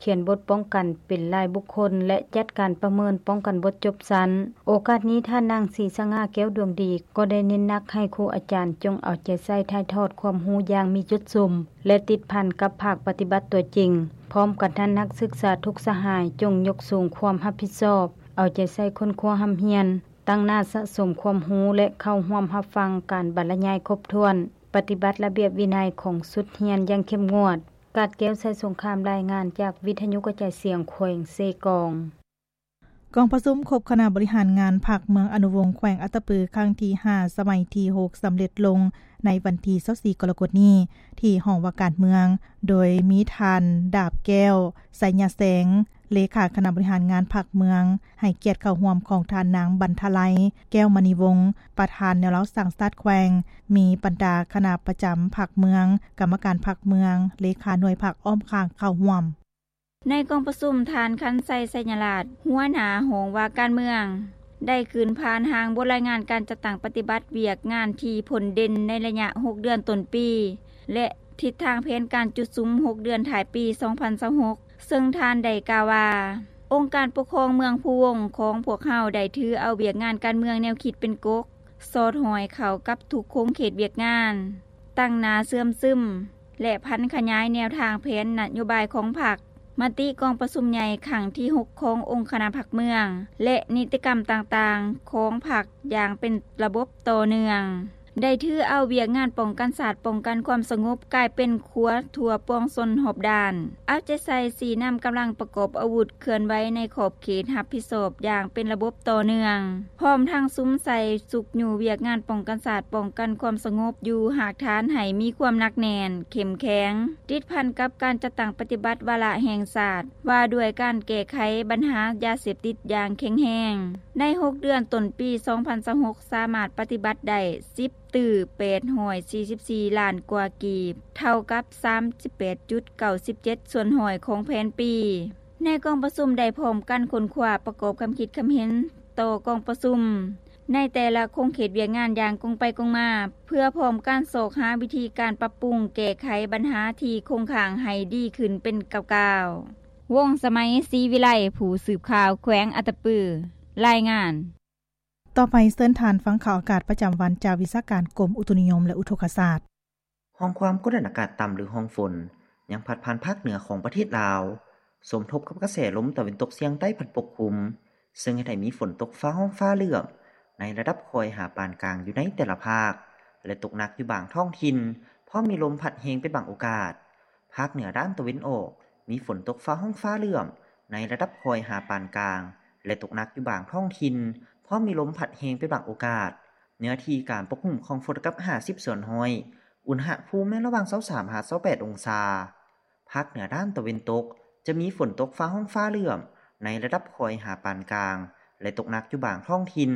ຂຽນບົດປ້ອງກັນເປັນລາຍບຸກຄົນ ແລະ ຈັດການປະເມີນປ້ອງກັນບົດຈົບຊັ້ນ. ໂອກາດນີ້ ທ່ານນາງ ສີສະຫງ່າ ແກ້ວດວງດີ ກໍໄດ້ເນັ້ນໜັກໃຫ້ຄູອາຈານຈົ່ງເອົາໃຈໃສ່ຖ່າຍທອດຄວາມຮູ້ຢ່າງມີຈຸດສຸມ ແລະ ຕິດພັນກັບພາກປະຕິບັດຕົວຈິງ. ພ້ອມກັນນັ້ນ ນັກສຶກສາທຸກສະຫາຍຈົ່ງຍົກສູງຄວາມຮັບຜິດຊອບ, ເອົາໃຈໃສ່ຄົ້ນຄວ້າຮ່ຳຮຽນ, ຕັ້ງໜ້າສະສົມຄວາມຮູ້ ແລະ ເຂົ້າຮ່ວມຮັບຟັງການບັນລະຍາຍຄົບຖ້ວນ, ປະຕິບັດລະບຽບວິໄນຂອງຊຸດຮຽນຢ່າງເຂັ້ມງວດ. ກາດແກ້ວ ໄຊສົງຄາມ ລາຍງານຈາກວິທະຍຸກະຈາຍສຽງແຂວງເຊກອງ. ກອງປະຊຸມຄົບຄະນະບໍລິຫານງານພັກເມືອງອະນຸວົງ ແຂວງອັດຕະປື ຄັ້ງທີຫ້າ ສະໄໝທີຫົກ ສຳເລັດລົງໃນວັນທີຊາວສີ່ ກໍລະກົດນີ້ ທີ່ຫ້ອງວ່າການເມືອງ, ໂດຍມີທ່ານ ດາບແກ້ວ ໄຊຍະແຊງ ເລຂາຄະນະບໍລິຫານງານພັກເມືອງ, ໃຫ້ກຽດເຂົ້າຮ່ວມຂອງທ່ານນາງ ບັນທະໄລ ແກ້ວມະນີວົງ ປະທານແນວລາວສ້າງຊາດແຂວງ, ມີບັນດາຄະນະປະຈຳພັກເມືອງ, ກຳມະການພັກເມືອງ, ເລຂາໜ່ວຍພັກອ້ອມຂ້າງເຂົ້າຮ່ວມ. ໃນກອງປະຊຸມ, ທ່ານ ຄັນໄຊ ໄຊຍະລາດ ຫົວໜ້າຫ້ອງວ່າການເມືອງ ໄດ້ຂຶ້ນຜ່ານຮ່າງບົດລາຍງານການຈັດຕັ້ງປະຕິບັດວຽກງານທີ່ພົ້ນເດັ່ນໃນໄລຍະຫົກເດືອນຕົ້ນປີ ແລະ ທິດທາງແຜນການຈຸດສຸມຫົກເດືອນທ້າຍປີສອງພັນຊາວຫົກ ເຊິ່ງທ່ານໄດ້ກ່າວວ່າ, ອົງການປົກຄອງເມືອງພູວົງຂອງພວກເຮົາໄດ້ຖືເອົາວຽກງານການເມືອງແນວຄິດເປັນກົກ, ສອດຫ້ອຍເຂົ້າກັບທຸກຂົງເຂດວຽກງານ, ຕັ້ງໜ້າເຊື່ອມຊຶມ ແລະ ຜັນຂະຫຍາຍແນວທາງແຜນນະໂຍບາຍຂອງພັກ, ມະຕິກອງປະຊຸມໃຫຍ່ຄັ້ງທີຫົກຂອງອົງຄະນະພັກເມືອງ ແລະ ນິຕິກຳຕ່າງໆຂອງພັກຢ່າງເປັນລະບົບຕໍ່ເນື່ອງ. ໄດ້ຖືເອົາວຽກງານປ້ອງກັນຊາດ, ປ້ອງກັນຄວາມສະຫງົບ ກາຍເປັນຂົວທົ່ວປວງຊົນຮອບດ້ານ, ເອົາໃຈໃສ່ຊີ້ນຳກຳລັງປະກອບອາວຸດເຄື່ອນໄຫວໃນຂອບເຂດຮັບຜິດຊອບຢ່າງເປັນລະບົບຕໍ່ເນື່ອງ, ພ້ອມທັງສຸມໃສ່ຊຸກຍູ້ວຽກງານປ້ອງກັນຊາດ, ປ້ອງກັນຄວາມສະຫງົບຢູ່ຮາກຖານໃຫ້ມີຄວາມໜັກແໜ້ນ, ເຂັ້ມແຂງ, ຕິດພັນກັບການຈັດຕັ້ງປະຕິບັດວາລະແຫ່ງຊາດ ວ່າດ້ວຍການແກ້ໄຂບັນຫາຢາເສບຕິດຢ່າງແຂງແຮງ. ໃນຫົກເດືອນຕົ້ນປີສອງພັນຊາວຫົກ ສາມາດປະຕິບັດໄດ້ສິບຕື້ແປດຮ້ອຍສີ່ສິບສີ່ລ້ານກວ່າກີບ, ເທົ່າກັບສາມສິບແປດຈຸດເກົ້າສິບເຈັດສ່ວນຮ້ອຍຂອງແຜນປີ. ໃນກອງປະຊຸມໄດ້ພ້ອມກັນຄົ້ນຄວ້າປະກອບຄຳຄິດຄຳເຫັນຕໍ່ກອງປະຊຸມ ໃນແຕ່ລະຂົງເຂດວຽກງານຢ່າງກົງໄປກົງມາ, ເພື່ອພ້ອມກັນຊອກຫາວິທີການປັບປຸງແກ້ໄຂບັນຫາທີ່ຄົງຄ້າງໃຫ້ດີຂຶ້ນເປັນກ້າວໆ. ວົງສະໄໝ ສີວິໄລ, ຜູ້ສືບຂ່າວແຂວງອັດຕະປື, ລາຍງານ. ຕໍ່ໄປເຊີນທ່ານຟັງຂ່າວອາກາດປະຈຳວັນຈາກວິຊາການກົມອຸຕຸນິຍົມ ແລະ ອຸທົກກະສາດ. ຮ່ອງຄວາມກົດອາກາດຕ່ຳ ຫຼື ຮ່ອງຝົນ ຍັງພັດຜ່ານພາກເໜືອຂອງປະເທດລາວ, ສົມທົບກັບກະແສລົມຕາເວັນຕົກສຽງໃຕ້ພັດປົກຄຸມ, ເຊິ່ງເຮັດໃຫ້ມີຝົນຕົກຟ້າຮ້ອງຟ້າເຫຼື້ອມ ໃນລະດັບຄ່ອຍຫາປານກາງຢູ່ໃນແຕ່ລະພາກ ແລະ ຕົກໜັກຢູ່ບາງທ້ອງຖິ່ນ, ພ້ອມມີລົມພັດແຮງເປັນບາງໂອກາດ. ພາກເໜືອດ້ານຕາເວັນອອກ ມີຝົນຕົກຟ້າຮ້ອງຟ້າເຫຼື້ອມ ໃນລະດັບຄ່ອຍຫາປານກາງ ແລະ ຕົກໜັກຢູ່ບາງທ້ອງຖິ່ນ, ພ້ອມມີລົມພັດແຮງເປັນບາງໂອກາດ. ເນື້ອທີ່ການປົກຄຸມຂອງຝົນກັບຫ້າສິບສ່ວນຮ້ອຍ, ອຸນຫະພູມແມ່ນລະຫວ່າງຊາວສາມຫາຊາວແປດອົງສາ. ພາກເໜືອດ້ານຕາເວັນຕົກ ຈະມີຝົນຕົກຟ້າຮ້ອງຟ້າເຫຼື້ອມ ໃນລະດັບຄ່ອຍຫາປານກາງ ແລະ ຕົກໜັກຢູ່ບາງທ້ອງຖິ່ນ,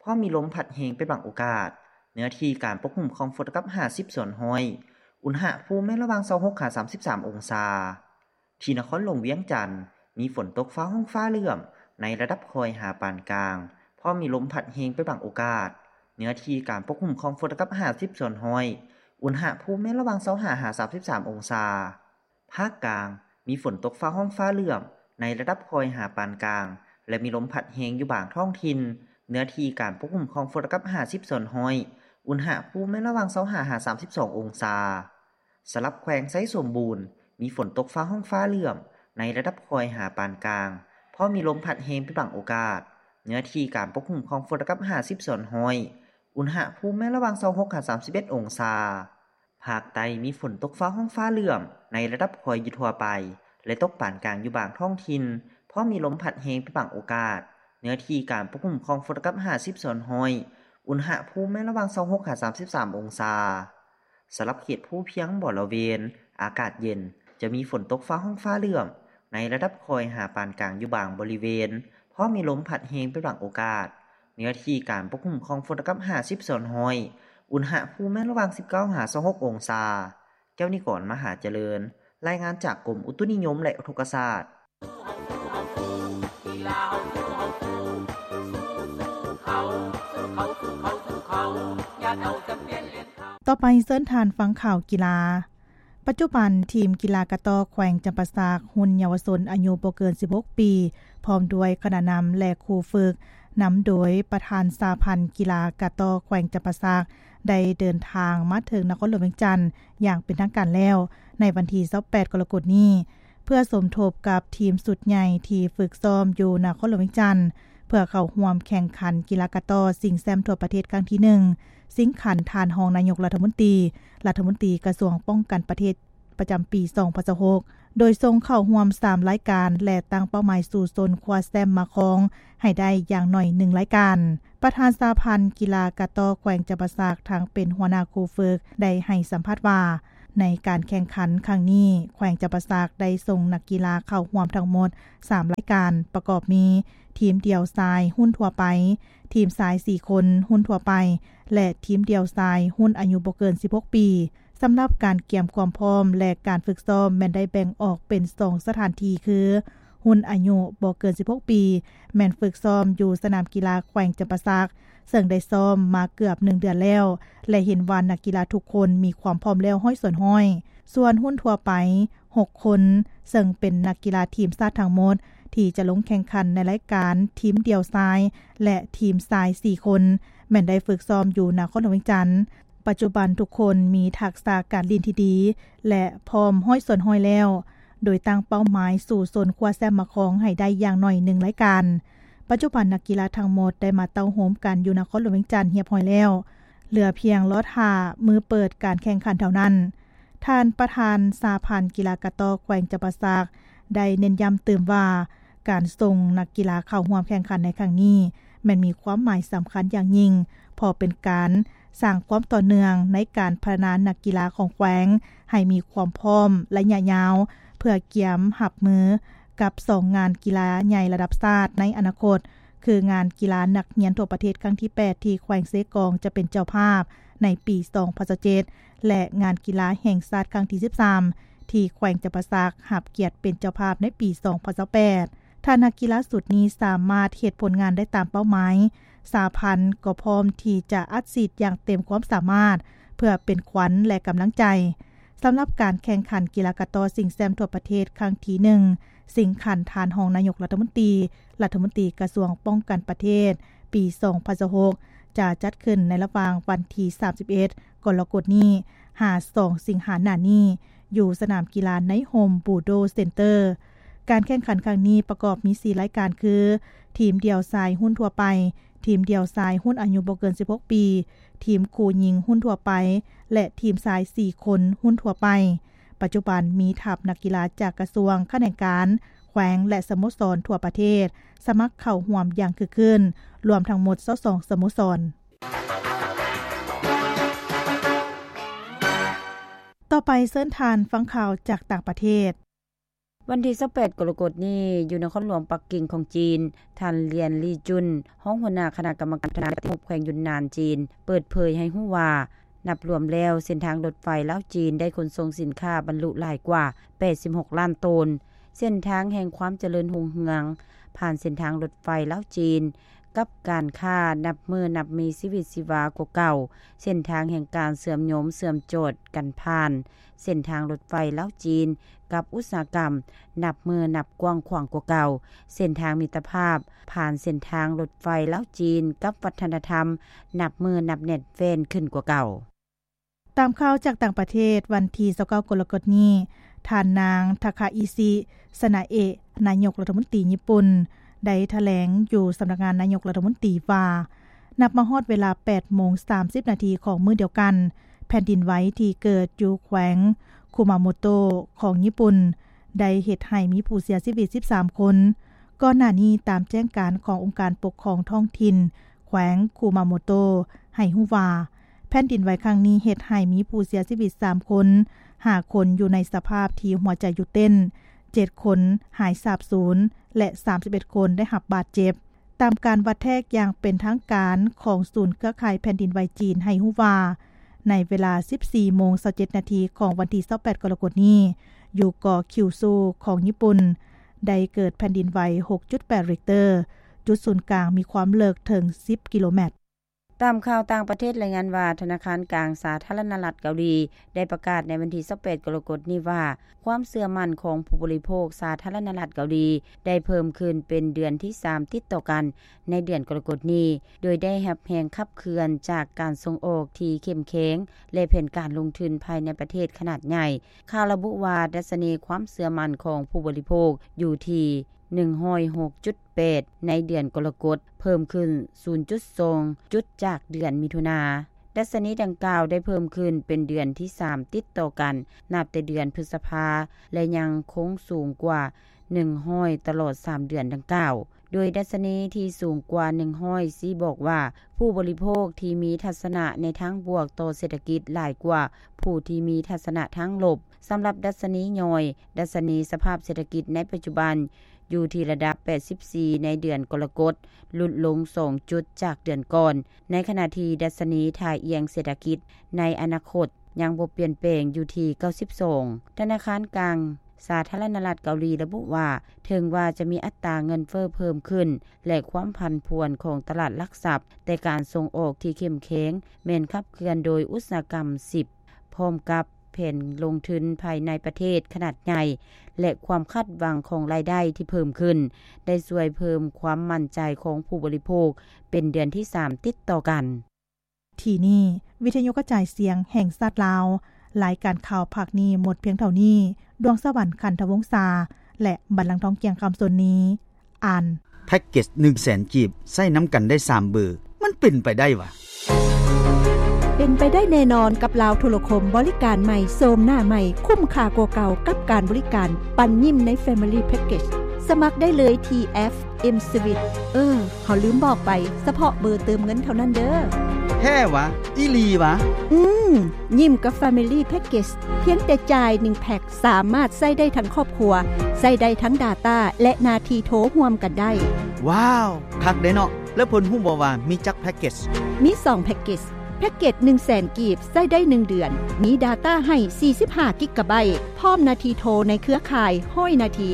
ພ້ອມມີລົມພັດແຮງເປັນບາງໂອກາດ. ເນື້ອທີ່ການປົກຄຸມຂອງຝົນກັບຫ້າສິບສ່ວນຮ້ອຍ, ອຸນຫະພູມແມ່ນລະຫວ່າງຊາວຫົກຫາສາມສິບສາມອົງສາ. ທີ່ນະຄອນຫຼວງວຽງຈັນ ມີຝົນຕົກຟ້າຮ້ອງຟ້າເຫຼື້ອມ ໃນລະດັບຄ່ອຍຫາປານກາງ, ພ້ອມມີລົມພັດແຮງເປັນບາງໂອກາດ. ເນື້ອທີ່ການປົກຄຸມຂອງຝົນກັບຫ້າສິບສ່ວນຮ້ອຍ, ອຸນຫະພູມແມ່ນລະຫວ່າງຊາວຫ້າຫາສາມສິບສາມອົງສາ. ພາກກາງ ມີຝົນຕົກຟ້າຮ້ອງຟ້າເຫຼື້ອມ ໃນລະດັບຄ່ອຍຫາປານກາງ ແລະ ມີລົມພັດແຮງຢູ່ບາງທ້ອງຖິ່ນ. ເນື້ອທີ່ການປົກຄຸມຂອງຝົນກັບຫ້າສິບສ່ວນຮ້ອຍ, ອຸນຫະພູມແມ່ນລະຫວ່າງຊາວຫ້າຫາສາມສິບສອງອົງສາ. ສຳລັບແຂວງໄຊສົມບູນ ມີຝົນຕົກຟ້າຮ້ອງຟ້າເຫຼື້ອມ ໃນລະດັບຄ່ອຍຫາປານກາງ, ພໍມີລົມພັດແຮງເປັນບາງໂອກາດ. ເນື້ອທີ່ການປົກຄຸມຂອງຝົນກັບຫ້າສິບສ່ວນຮ້ອຍ, ອຸນຫະພູມແມ່ນລະຫວ່າງຊາວຫົກຫາສາມສິບເອັດອົງສາ. ພາກໃຕ້ມີຝົນຕົກຟ້າຮ້ອງຟ້າເຫຼື້ອມ ໃນລະດັບຄ່ອຍຢູ່ທົ່ວໄປ ແລະ ຕົກປານກາງຢູ່ບາງທ້ອງຖິ່ນ, ພໍມີລົມພັດແຮງເປັນບາງໂອກາດ. ເນື້ອທີ່ການປົກຄຸມຂອງຝົນກັບຫ້າສິບສ່ວນຮ້ອຍ, ອຸນຫະພູມແມ່ນລະຫວ່າງຊາວຫົກຫາສາມສິບສາມອົງສາ. ສຳລັບເຂດພູພຽງບໍລະເວນ ອາກາດເຢັນ, ຈະມີຝົນຕົກຟ້າຮ້ອງຟ້າເຫຼື້ອມ ໃນລະດັບຄ່ອຍຫາປານກາງຢູ່ບາງບໍລິເວນ, ພໍມີລົມພັດແຮງເປັນບາງໂອກາດ. ເນື້ອທີ່ການປົກຄຸມຂອງຝົນກັບຫ້າສິບສ່ວນຮ້ອຍ, ອຸນຫະພູມແມ່ນລະຫວ່າງສິບເກົ້າຫາຊາວຫົກອົງສາ. ແກ້ວນິກອນ ມະຫາຈະເລີນ, ລາຍງານຈາກກົມອຸຕຸນິຍົມ ແລະ ອຸທົກກະສາດ. ຕໍ່ໄປເຊີນທ່ານຟັງຂ່າວກິລາ. ປັດຈຸບັນ, ທີມກິລາກະຕໍ້ແຂວງຈຳປາສັກ ຮຸ່ນເຍົາວະຊົນອາຍຸບໍ່ເກີນສິບຫົກປີ ພ້ອມດ້ວຍຄະນະນຳ ແລະ ຄູຝຶກ, ນຳໂດຍປະທານສະຫະພັນກິລາກະຕໍ້ແຂວງຈຳປາສັກ ໄດ້ເດີນທາງມາເຖິງນະຄອນຫຼວງວຽງຈັນຢ່າງເປັນທາງການແລ້ວ ໃນວັນທີຊາວແປດ ກໍລະກົດນີ້ ເພື່ອສົມທົບກັບທີມຊຸດໃຫຍ່ທີ່ຝຶກຊ້ອມຢູ່ນະຄອນຫຼວງວຽງຈັນ ເພື່ອເຂົ້າຮ່ວມແຂ່ງຂັນກິລາກະຕໍ້ຊິງແຊ້ມທົ່ວປະເທດຄັ້ງທີໜຶ່ງ ຊິງຂັນທ່ານຮອງນາຍົກລັດຖະມົນຕີ, ລັດຖະມົນຕີກະຊວງປ້ອງກັນປະເທດ ປະຈຳປີສອງພັນຊາວຫົກ ໂດຍສົ່ງເຂົ້າຮ່ວມສາມລາຍການ ແລະ ຕັ້ງເປົ້າໝາຍສູ້ຊົນຄວ້າແຊ້ມມາຄອງໃຫ້ໄດ້ຢ່າງໜ້ອຍໜຶ່ງລາຍການ. ປະທານສະຫະພັນກິລາກະຕໍ້ແຂວງຈຳປາສັກ ທັງເປັນຫົວໜ້າຄູຝຶກ ໄດ້ໃຫ້ສຳພາດວ່າ, ໃນການແຂ່ງຂັນຄັ້ງນີ້ ແຂວງຈຳປາສັກໄດ້ສົ່ງນັກກິລາເຂົ້າຮ່ວມທັງໝົດສາມລາຍການ ປະກອບມີ ທີມດ່ຽວຊາຍຮຸ່ນທົ່ວໄປ, ທີມຊາຍສີ່ຄົນຮຸ່ນທົ່ວໄປ ແລະ ທີມດ່ຽວຊາຍຮຸ່ນອາຍຸບໍ່ເກີນສິບຫົກປີ. ສຳລັບການກຽມຄວາມພ້ອມ ແລະ ການຝຶກຊ້ອມແມ່ນໄດ້ແບ່ງອອກເປັນສອງສະຖານທີ່ຄື, ຮຸ່ນອາຍຸບໍ່ເກີນສິບຫົກປີ ແມ່ນຝຶກຊ້ອມຢູ່ສະໜາມກິລາແຂວງຈຳປາສັກ, ເຊິ່ງໄດ້ຊ້ອມມາເກືອບໜຶ່ງເດືອນແລ້ວ ແລະ ເຫັນວ່ານັກກິລາທຸກຄົນມີຄວາມພ້ອມແລ້ວຮ້ອຍສ່ວນຮ້ອຍ. ສ່ວນຮຸ່ນທົ່ວໄປຫົກຄົນ, ເຊິ່ງເປັນນັກກິລາທີມຊາດທັງໝົດ ທີ່ຈະລົງແຂ່ງຂັນໃນລາຍການທີມດ່ຽວຊາຍ ແລະ ທີມຊາຍສີ່ຄົນ ແມ່ນໄດ້ຝຶກຊ້ອມຢູ່ນະຄອນຫຼວງວຽງຈັນ. ປັດຈຸບັນທຸກຄົນມີທັກສະການຫຼິ້ນທີ່ດີ ແລະ ພ້ອມຮ້ອຍສ່ວນຮ້ອຍແລ້ວ, ໂດຍຕັ້ງເປົ້າໝາຍສູ້ຊົນຄວ້າແຊ້ມມາຄອງໃຫ້ໄດ້ຢ່າງໜ້ອຍໜຶ່ງລາຍການ. ປັດຈຸບັນນັກກິລາທັງໝົດໄດ້ມາເຕົ້າໂຮມກັນຢູ່ນະຄອນຫຼວງວຽງຈັນຮຽບຮ້ອຍແລ້ວ, ເຫຼືອພຽງລໍຖ້າມື້ເປີດການແຂ່ງຂັນເທົ່ານັ້ນ. ທ່ານປະທານສະຫະພັນກິລາກະຕໍ້ແຂວງຈຳປາສັກ ໄດ້ເນັ້ນຢ້ຳຕື່ມວ່າ ການສົ່ງນັກກິລາເຂົ້າຮ່ວມແຂ່ງຂັນໃນຄັ້ງນີ້ ແມ່ນມີຄວາມໝາຍສຳຄັນຢ່າງຍິ່ງ ເພາະເປັນການສ້າງຄວາມຕໍ່ເນື່ອງໃນການພັດທະນານັກກິລາຂອງແຂວງ ໃຫ້ມີຄວາມພ້ອມໄລຍະຍາວ ເພື່ອກຽມຮັບມືກັບສອງງານກິລາໃຫຍ່ລະດັບຊາດໃນອະນາຄົດ ຄືງານກິລານັກຮຽນທົ່ວປະເທດຄັ້ງທີແປດ ທີ່ແຂວງເຊກອງຈະເປັນເຈົ້າພາບໃນປີສອງພັນຊາວເຈັດ ແລະ ງານກິລາແຫ່ງຊາດຄັ້ງທີສິບສາມ ທີ່ແຂວງຈຳປາສັກຮັບກຽດເປັນເຈົ້າພາບໃນປີສອງພັນຊາວແປດ. ຖ້ານັກກິລາຊຸດນີ້ສາມາດເຮັດຜົນງານໄດ້ຕາມເປົ້າໝາຍ, ສະຫະພັນກໍພ້ອມທີ່ຈະອັດສີດຢ່າງເຕັມຄວາມສາມາດ ເພື່ອເປັນຂວັນ ແລະ ກຳລັງໃຈ. ສຳລັບການແຂ່ງຂັນກິລາກະຕໍ້ຊິງແຊ້ມທົ່ວປະເທດຄັ້ງທີໜຶ່ງ ຊິງຂັນທ່ານຮອງນາຍົກລັດຖະມົນຕີ, ລັດຖະມົນຕີກະຊວງປ້ອງກັນປະເທດ ປີສອງພັນຊາວຫົກ ຈະຈັດຂຶ້ນໃນລະຫວ່າງວັນທີສາມສິບເອັດ ກໍລະກົດນີ້ ຫາ ສອງສິງຫາໜ້ານີ້ ຢູ່ສະໜາມກິລາໃນໂຮມບູໂດເຊັນເຕີ. ການແຂ່ງຂັນຄັ້ງນີ້ປະກອບມີສີ່ລາຍການ ຄື ທີມດ່ຽວຊາຍຮຸ້ນທົ່ວໄປ, ທີມດ່ຽວຊາຍຮຸ້ນອາຍຸບໍ່ເກີນສິບຫົກປີ, ທີມຄູ່ຍິງຮຸ້ນທົ່ວໄປ ແລະ ທີມຊາຍສີ່ຄົນຮຸ້ນທົ່ວໄປ. ປັດຈຸບັນມີທັບນັກກິລາຈາກກະຊວງ, ຂະແໜງການ, ແຂວງ ແລະ ສະໂມສອນທົ່ວປະເທດ ສະໝັກເຂົ້າຮ່ວມຢ່າງຄຶກຄື້ນ, ລວມທັງໝົດຊາວສອງສະໂມສອນ. ຕໍ່ໄປເຊີນທ່ານຟັງຂ່າວຈາກຕ່າງປະເທດ. ວັນທີຊາວແປດ ກໍລະກົດນີ້ ຢູ່ນະຄອນຫຼວງປັກກິ່ງຂອງຈີນ, ທ່ານ ລຽນ ລີຈຸນ, ຮອງຫົວໜ້າຄະນະກຳມະການພັດທະນາປະຕິຮູບແຂວງຢຸນນານຈີນ ເປີດເຜີຍໃຫ້ຮູ້ວ່າ ນັບລວມແລ້ວ ເສັ້ນທາງລົດໄຟລາວ-ຈີນ ໄດ້ຂົນສົ່ງສິນຄ້າບັນລຸຫຼາຍກວ່າ ແປດສິບຫົກລ້ານໂຕນ. ເສັ້ນທາງແຫ່ງຄວາມຈະເລີນຮຸ່ງເຮືອງ ຜ່ານເສັ້ນທາງລົດໄຟລາວ-ຈີນ ກັບການຄ້າ ນັບມື້ນັບມີຊີວິດຊີວາກວ່າເກົ່າ, ເສັ້ນທາງແຫ່ງການເຊື່ອມໂຍງເຊື່ອມຈອດກັນຜ່ານ ເສັ້ນທາງລົດໄຟລາວ-ຈີນ ກັບອຸດສາຫະກຳ ນັບມື້ນັບກວ້າງຂວາງກວ່າເກົ່າ, ເສັ້ນທາງມິດຕະພາບ ຜ່ານເສັ້ນທາງລົດໄຟລາວ-ຈີນ ກັບວັດທະນະທຳ ນັບມື້ນັບແໜ້ນແຟ້ນຂຶ້ນກວ່າເກົ່າ. ຕາມຂ່າວຈາກຕ່າງປະເທດ, ວັນທີຊາວເກົ້າ ກໍລະກົດນີ້, ທ່ານນາງ ທາຄາອິຊິ ຊະນາເອະ ນາຍົກລັດຖະມົນຕີຍີ່ປຸ່ນ ໄດ້ຖະແຫຼງຢູ່ສຳນັກງານນາຍົກລັດຖະມົນຕີວ່າ ນັບມາຮອດເວລາ ແປດໂມງສາມສິບນາທີຂອງມື້ດຽວກັນ, ແຜ່ນດິນໄຫວທີ່ເກີດຢູ່ແຂວງຄຸມາໂມໂຕະຂອງຍີ່ປຸ່ນ ໄດ້ເຮັດໃຫ້ມີຜູ້ເສຍຊີວິດສິບສາມຄົນ. ກ່ອນໜ້ານີ້, ຕາມແຈ້ງການຂອງອົງການປົກຄອງທ້ອງຖິ່ນແຂວງຄຸມາໂມໂຕະ ໃຫ້ຮູ້ວ່າ ແຜ່ນດິນໄຫວຄັ້ງນີ້ເຮັດໃຫ້ມີຜູ້ເສຍຊີວິດສາມຄົນ, ຫ້າຄົນຢູ່ໃນສະພາບທີ່ຫົວໃຈຢຸດເຕັ້ນ, ເຈັດຄົນຫາຍສາບສູນ ແລະ ສາມສິບເອັດຄົນໄດ້ຮັບບາດເຈັບ. ຕາມການວັດແທກຢ່າງເປັນທາງການຂອງສູນເຄືອຂ່າຍແຜ່ນດິນໄຫວຈີນໃຫ້ຮູ້ວ່າ ໃນເວລາ ສິບສີ່ໂມງຊາວເຈັດນາທີຂອງວັນທີຊາວແປດ ກໍລະກົດນີ້, ຢູ່ເກາະຄິວຊູຂອງຍີ່ປຸ່ນ ໄດ້ເກີດແຜ່ນດິນໄຫວ ຫົກຈຸດແປດ ຣິກເຕີ, ຈຸດສູນກາງມີຄວາມເລິກເຖິງສິບກິໂລແມັດ. ຕາມຂ່າວຕ່າງປະເທດລາຍງານວ່າ ທະນາຄານກາງສາທາລະນະລັດເກົາຫຼີ ໄດ້ປະກາດໃນວັນທີຊາວແປດ ກໍລະກົດນີ້ວ່າ ຄວາມເຊື່ອໝັ້ນຂອງຜູ້ບໍລິໂພກສາທາລະນະລັດເກົາຫຼີ ໄດ້ເພີ່ມຂຶ້ນເປັນເດືອນທີສາມຕິດຕໍ່ກັນໃນເດືອນກໍລະກົດນີ້, ໂດຍໄດ້ຮັບແຮງຂັບເຄື່ອນຈາກການສົ່ງອອກທີ່ເຂັ້ມແຂງ ແລະ ແຜນການລົງທຶນພາຍໃນປະເທດຂະໜາດໃຫຍ່. ຂ່າວລະບຸວ່າ ດັດຊະນີຄວາມເຊື່ອໝັ້ນຂອງຜູ້ບໍລິໂພກຢູ່ທີ່ ໜຶ່ງຮ້ອຍຫົກຈຸດແປດ ໃນເດືອນກໍລະກົດ, ເພີ່ມຂຶ້ນສູນຈຸດສອງຈຸດຈາກເດືອນມິຖຸນາ. ດັດຊະນີດັ່ງກ່າວໄດ້ເພີ່ມຂຶ້ນເປັນເດືອນທີສາມຕິດຕໍ່ກັນ ນັບແຕ່ເດືອນພຶດສະພາ ແລະ ຍັງຄົງສູງກວ່າໜຶ່ງຮ້ອຍຕະຫຼອດສາມເດືອນດັ່ງກ່າວ. ໂດຍດັດຊະນີທີ່ສູງກວ່າໜຶ່ງຮ້ອຍຊີ້ບອກວ່າ ຜູ້ບໍລິໂພກທີ່ມີທັດສະນະໃນທາງບວກຕໍ່ເສດຖະກິດຫຼາຍກວ່າຜູ້ທີ່ມີທັດສະນະທາງລົບ. ສຳລັບດັດຊະນີຍ່ອຍ, ດັດຊະນີສະພາບເສດຖະກິດໃນປັດຈຸບັນຢູ່ທີ່ລະດັບແປດສິບສີ່ໃນເດືອນກໍລະກົດ, ຫຼຸດລົງສອງຈຸດຈາກເດືອນກ່ອນ, ໃນຂະນະທີ່ດັດຊະນີທ່າອ່ຽງເສດຖະກິດໃນອະນາຄົດຍັງບໍ່ປ່ຽນແປງຢູ່ທີ່ເກົ້າສິບສອງ. ທະນາຄານກາງສາທາລະນະລັດເກົາຫຼີລະບຸວ່າ ເຖິງວ່າຈະມີອັດຕາເງິນເຟີ້ເພີ່ມຂຶ້ນ ແລະ ຄວາມຜັນຜວນຂອງຕະຫຼາດຫຼັກຊັບ, ແຕ່ການສົ່ງອອກທີ່ເຂັ້ມແຂງແມ່ນຂັບເຄື່ອນໂດຍອຸດສາຫະກຳສິບ ພ້ອມກັບແຜນລົງທຶນພາຍໃນປະເທດຂະໜາດໃຫຍ່ ແລະ ຄວາມຄາດຫວັງຂອງລາຍໄດ້ທີ່ເພີ່ມຂຶ້ນ ໄດ້ຊ່ວຍເພີ່ມຄວາມໝັ້ນໃຈຂອງຜູ້ບໍລິໂພກເປັນເດືອນທີສາມຕິດຕໍ່ກັນ. ທີ່ນີ້ ວິທະຍຸກະຈາຍສຽງແຫ່ງຊາດລາວ, ລາຍການຂ່າວພາກນີ້ໝົດພຽງເທົ່ານີ້. ດວງສະຫວັນ ຂັນທະວົງສາ ແລະ ບັນລັງທອງ ກ່ຽງຄຳ ສົນນີ ອ່ານ. ແພັກເກັດໜຶ່ງແສນກີບ ໃຊ້ນຳກັນໄດ້ສາມເບີ ມັນເປັນໄປໄດ້ຫວາ? ປັນໄປໄດ້ແນ່ນອນກັບລາວໂທລະຄົມ, ບໍລິການໃໝ່, ໂສມໜ້າໃໝ່, ຄຸ້ມຄ່າກວ່າເກົ່າກັບການບໍລິການປັນຍິ້ມໃນ Family Package. ສະໝັກໄດ້ເລີຍທີ່ແອັບ M Sweet. ເອີ ເຮົາລືມບອກໄປ, ສະເພາະເບີເຕີມເງິນເທົ່ານັ້ນເດີ້. ແທ້ຫວາ? ອີ່ຫຼີຫວາ? ອືມ, ຍິ້ມກັບ Family Package ພຽງແຕ່ຈ່າຍໜຶ່ງແພັກ ສາມາດໃຊ້ໄດ້ທັງຄອບຄົວ, ໃຊ້ໄດ້ທັງ data ແລະ ໜ້າທີ່ໂທຮ່ວມກັນໄດ້. ວ້າວ, ຄັກເດ້ເນາະ. ແລ້ວເພິ່ນຮູ້ບໍ່ວ່າມີຈັກແພັກເກັດ? ມີສອງແພັກເກັດ. ແພັກເກັດໜຶ່ງແສນກີບ ໃຊ້ໄດ້ໜຶ່ງເດືອນ, ມີ data ໃຫ້ສີ່ສິບຫ້າກິກກະໄບ, ພ້ອມໜ້າທີ່ໂທໃນເຄືອຂ່າຍຮ້ອຍນາທີ,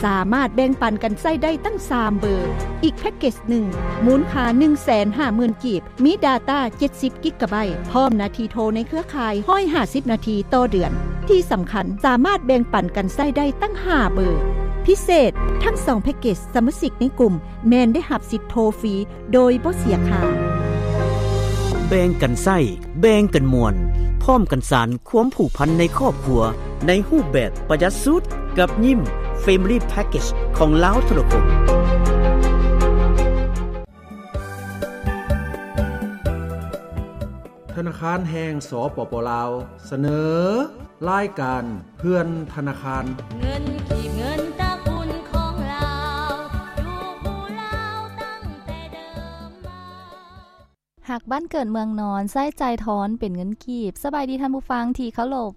ສາມາດແບ່ງປັນກັນໃຊ້ໄດ້ຕັ້ງສາມເບີ. ອີກແພັກເກັດໜຶ່ງ ມູນຄ່າໜຶ່ງແສນຫ້າໝື່ນກີບ, ມີ data ເຈັດສິບກິກກະໄບ, ພ້ອມໜ້າທີ່ໂທໃນເຄືອຂ່າຍຮ້ອຍຫ້າສິບນາທີຕໍ່ເດືອນ. ທີ່ສຳຄັນ, ສາມາດແບ່ງປັນກັນໃຊ້ໄດ້ຕັ້ງຫ້າເບີ. ພິເສດ, ທັງສອງແພັກເກັດ, ສະມາຊິກໃນກຸ່ມແມ່ນໄດ້ຮັບສິດໂທຟຣີໂດຍບໍ່ເສຍຄ່າ. ແບ່ງກັນໃຊ້ ແບ່ງກັນມ່ວນ, ພ້ອມກັນສານຄວາມຜູກພັນໃນຄອບຄົວ ໃນຮູບແບບປະຢັດສຸດ ກັບຍິ້ມ Family Package ຂອງລາວໂທລະຄົມ. ທະນາຄານແຫ່ງ ສປປ ລາວ ສະເໜີ ລາຍການເພື່ອນທະນາຄານ. ເງິນກີບ ເງິນຕະກຸນຂອງລາວ ຢູ່ຄູ່ລາວຕັ້ງແຕ່ເດີມມາ. ຮັກບ້ານເກີດເມືອງນອນ ໃຊ້ຈ່າຍທອນເປັນເງິນກີບ. ສະບາຍດີທ່ານຜູ້ຟັງທີ່ເຄົາລົບ.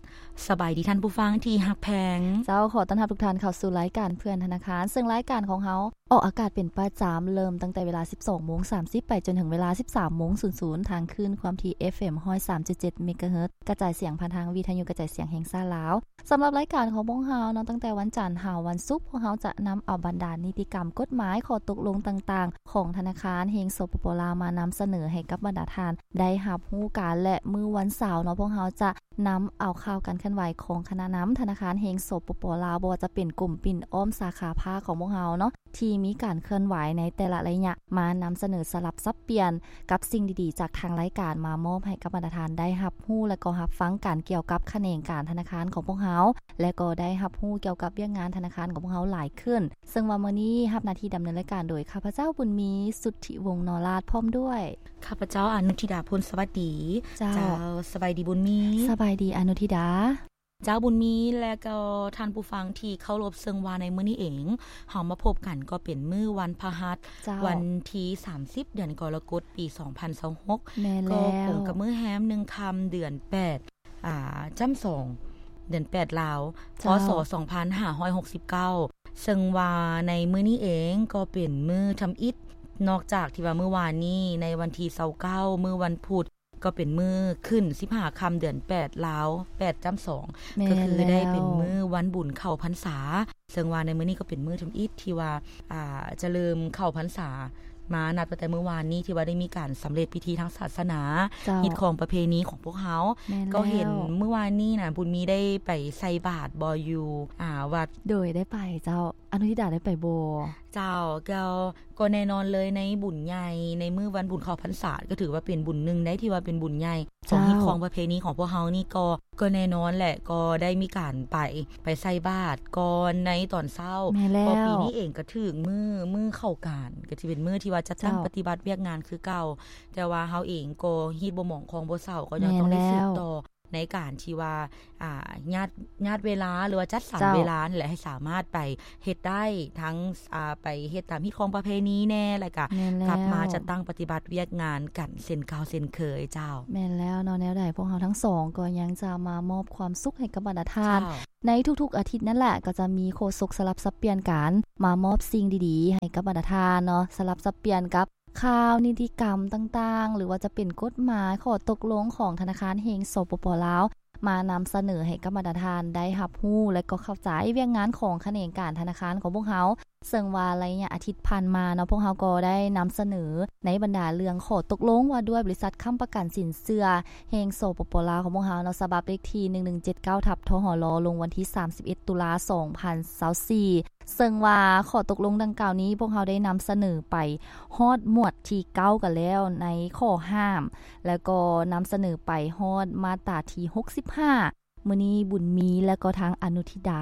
ສະບາຍດີທ່ານຜູ້ຟັງທີ່ຮັກແພງ. ເຈົ້າ, ຂໍຕ້ອນຮັບທຸກທ່ານເຂົ້າສູ່ລາຍການເພື່ອນທະນາຄານ, ເຊິ່ງລາຍການຂອງເຮົາ ອອກອາກາດເປັນປະຈຳ ເລີ່ມຕັ້ງແຕ່ເວລາສິບສອງໂມງສາມສິບ ໄປຈົນເຖິງເວລາສິບສາມໂມງສູນສູນ ທາງຄື້ນຄວາມຖີ່ ເອັຟເອັມ ຮ້ອຍສາມຈຸດເຈັດ ເມກາເຮີດ ກະຈາຍສຽງຜ່ານທາງວິທະຍຸກະຈາຍສຽງແຫ່ງຊາດລາວ. ສຳລັບລາຍການຂອງພວກເຮົາເນາະ, ຕັ້ງແຕ່ວັນຈັນຫາວັນສຸກ, ພວກເຮົາຈະນຳເອົາບັນດານິຕິກຳ, ກົດໝາຍ, ຂໍ້ຕົກລົງຕ່າງໆ ຂອງທະນາຄານແຫ່ງ ສປປ ລາວ ມານຳສະເໜີໃຫ້ກັບບັນດາທ່ານໄດ້ຮັບຮູ້ກັນ ແລະ ມື້ວັນເສົາເນາະ, ພວກເຮົາຈະ ນຳເອົາຂ່າວການເຄື່ອນໄຫວຂອງຄະນະນຳທະນາຄານແຫ່ງ ສປປ ລາວ, ບໍ່ວ່າຈະເປັນກົມປິ່ນອ້ອມສາຂາພາກຂອງພວກເຮົາເນາະ ທີ່ມີການເຄື່ອນໄຫວໃນແຕ່ລະໄລຍະ ມານຳສະເໜີສະຫຼັບສັບປ່ຽນກັບສິ່ງດີໆ ຈາກທາງລາຍການ ມາມອບໃຫ້ກັບບັນດາທ່ານໄດ້ຮັບຮູ້ ແລະ ກໍຮັບຟັງກັນ ກ່ຽວກັບຂະແໜງການທະນາຄານຂອງພວກເຮົາ ແລະ ກໍໄດ້ຮັບຮູ້ກ່ຽວກັບວຽກງານທະນາຄານຂອງພວກເຮົາຫຼາຍຂຶ້ນ. ເຊິ່ງວ່າມື້ນີ້ຮັບໜ້າທີ່ດຳເນີນລາຍການໂດຍ ຂ້າພະເຈົ້າ ບຸນມີ ສຸດທິວົງ ນໍລາດ ພ້ອມດ້ວຍ ຂ້າພະເຈົ້າ ອານຸທິດາ ພົນສະຫວັດດີ. ເຈົ້າ ເຈົ້າ ສະບາຍດີບຸນມີ. ສະບາຍດີອານຸທິດາ. ເຈົ້າ ບຸນມີ ແລະ ກໍທ່ານຜູ້ຟັງທີ່ເຄົາລົບ, ເຊິ່ງວ່າໃນມື້ນີ້ເອງ ເຮົາມາພົບກັນກໍເປັນມື້ວັນພະຫັດ ເຈົ້າ ວັນທີສາມສິບ ເດືອນກໍລະກົດ ປີສອງພັນຊາວຫົກ ແມ່ນແລ້ວ ກໍກົງກັບມື້ແຮມໜຶ່ງຄ່ຳ ເດືອນແປດ ອ່າ ຈ້ຳສອງ ເດືອນແປດລາວ ເຈົ້າ ພ.ສ. ສອງພັນຫ້າຮ້ອຍຫົກສິບເກົ້າ ເຊິ່ງວ່າໃນມື້ນີ້ເອງກໍເປັນມື້ທຳອິດ ນອກຈາກທີ່ວ່າມື້ວານນີ້ ໃນວັນທີຊາວເກົ້າ ມື້ວັນພຸດ ກໍເປັນມື້ຂຶ້ນສິບຫ້າຄ່ຳ ເດືອນແປດລາວ ແປດຈ້ຳສອງ ແມ່ນ ກໍຄືໄດ້ເປັນ ແລ້ວ ມື້ວັນບຸນເຂົ້າພັນສາ ເຊິ່ງວ່າໃນມື້ນີ້ກໍເປັນມື້ທຳອິດທີ່ວ່າ ອ່າ ຈະເລີ່ມເຂົ້າພັນສາ ມານັບຕັ້ງແຕ່ມື້ວານນີ້ ທີ່ວ່າໄດ້ມີການສຳເລັດພິທີທາງສາສະໜາ ເຈົ້າ ຮີດຄອງປະເພນີຂອງພວກເຮົາ. ແມ່ນແລ້ວ ກໍເຫັນມື້ວານນີ້ນະ ບຸນມີໄດ້ໄປໃສ່ບາດບໍ່ ຢູ່ ອ່າ ວັດ? ໂດຍ ໄດ້ໄປເຈົ້າ. ອານຸທິດາໄດ້ໄປບໍ່? ເຈົ້າ ກໍ ກໍແນ່ນອນເລີຍ ໃນບຸນໃຫຍ່ ໃນມື້ວັນບຸນເຂົ້າພັນສາ ກໍຖືວ່າເປັນບຸນໜຶ່ງໃດ ທີ່ວ່າເປັນບຸນໃຫຍ່ ເຈົ້າ ຂອງຮີດຄອງປະເພນີຂອງພວກເຮົານີ້ ກໍ ກໍແນ່ນອນແຫຼະ ກໍໄດ້ມີການໄປ ໄປໃສ່ບາດກ່ອນໃນຕອນເຊົ້າ. ແມ່ນແລ້ວ ກໍປີນີ້ເອງກໍຖືກມື້ ມື້ເຂົ້າການ ກໍຊິເປັນມື້ທີ່ວ່າຈັດຕັ້ງ ເຈົ້າ ປະຕິບັດວຽກງານຄືເກົ່າ ແຕ່ວ່າເຮົາເອງກໍຮີດບໍ່ໝອງຄອງບໍ່ເຊົາ ກໍຍັງ ແມ່ນແລ້ວ ຕ້ອງໄດ້ສືບຕໍ່ ໃນການທີ່ວ່າ ອ່າ ຍາດ ຍາດເວລາ ຫຼືວ່າຈັດສັນ ເຈົ້າ ເວລານັ້ນແຫຼະ ໃຫ້ສາມາດໄປເຮັດໄດ້ ທັງ ອ່າ ໄປເຮັດຕາມຮີດຄອງປະເພນີແດ່ ແລ້ວກະ ແມ່ນແລ້ວ ກັບມາຈັດຕັ້ງປະຕິບັດວຽກງານກັນເຊັ່ນເກົ່າເຊັ່ນເຄີຍເຈົ້າ. ແມ່ນແລ້ວເນາະ, ແນວໃດພວກເຮົາທັງສອງກໍຍັງຈະມາມອບຄວາມສຸກໃຫ້ກັບບັນດາທ່ານ ເຈົ້າ ໃນທຸກໆອາທິດນັ້ນແຫຼະ, ກໍຈະມີໂຄສົກສະຫຼັບສັບປ່ຽນກັນ ມາມອບສິ່ງດີໆໃຫ້ກັບບັນດາທ່ານເນາະ, ສະຫຼັບສັບປ່ຽນກັບ ຂ່າວນິຕິກຳຕ່າງໆ ຫຼືວ່າຈະເປັນກົດໝາຍ ຂໍ້ຕົກລົງຂອງທະນາຄານແຫ່ງ ສປປ ລາວ ມານຳສະເໜີໃຫ້ກັບບັນດາທ່ານໄດ້ຮັບຮູ້ ແລະ ກໍເຂົ້າໃຈວຽກງານຂອງຂະແໜງການທະນາຄານຂອງພວກເຮົາ. ເຊິ່ງວ່າໄລຍະອາທິດຜ່ານມາເນາະ, ພວກເຮົາກໍໄດ້ນຳສະເໜີໃນບັນດາເລື່ອງຂໍ້ຕົກລົງວ່າດ້ວຍບໍລິສັດຄ້ຳປະກັນສິນເຊື່ອແຫ່ງ ສປປ ລາວ ຂອງພວກເຮົາເນາະ, ສະບັບເລກທີ ໜຶ່ງໜຶ່ງເຈັດເກົ້າ ທັບ ທຫລ ລົງວັນທີ ສາມສິບເອັດ ຕຸລາ ສອງພັນຊາວສີ່. ເຊິ່ງວ່າຂໍ້ຕົກລົງດັ່ງກ່າວນີ້ ພວກເຮົາໄດ້ນຳສະເໜີໄປຮອດໝວດທີເກົ້າກັນແລ້ວ ໃນຂໍ້ຫ້າມ ແລ້ວກໍນຳສະເໜີໄປຮອດມາດຕາທີຫົກສິບຫ້າ ມື້ນີ້ບຸນມີ ແລະກໍທາງອະນຸທິດາ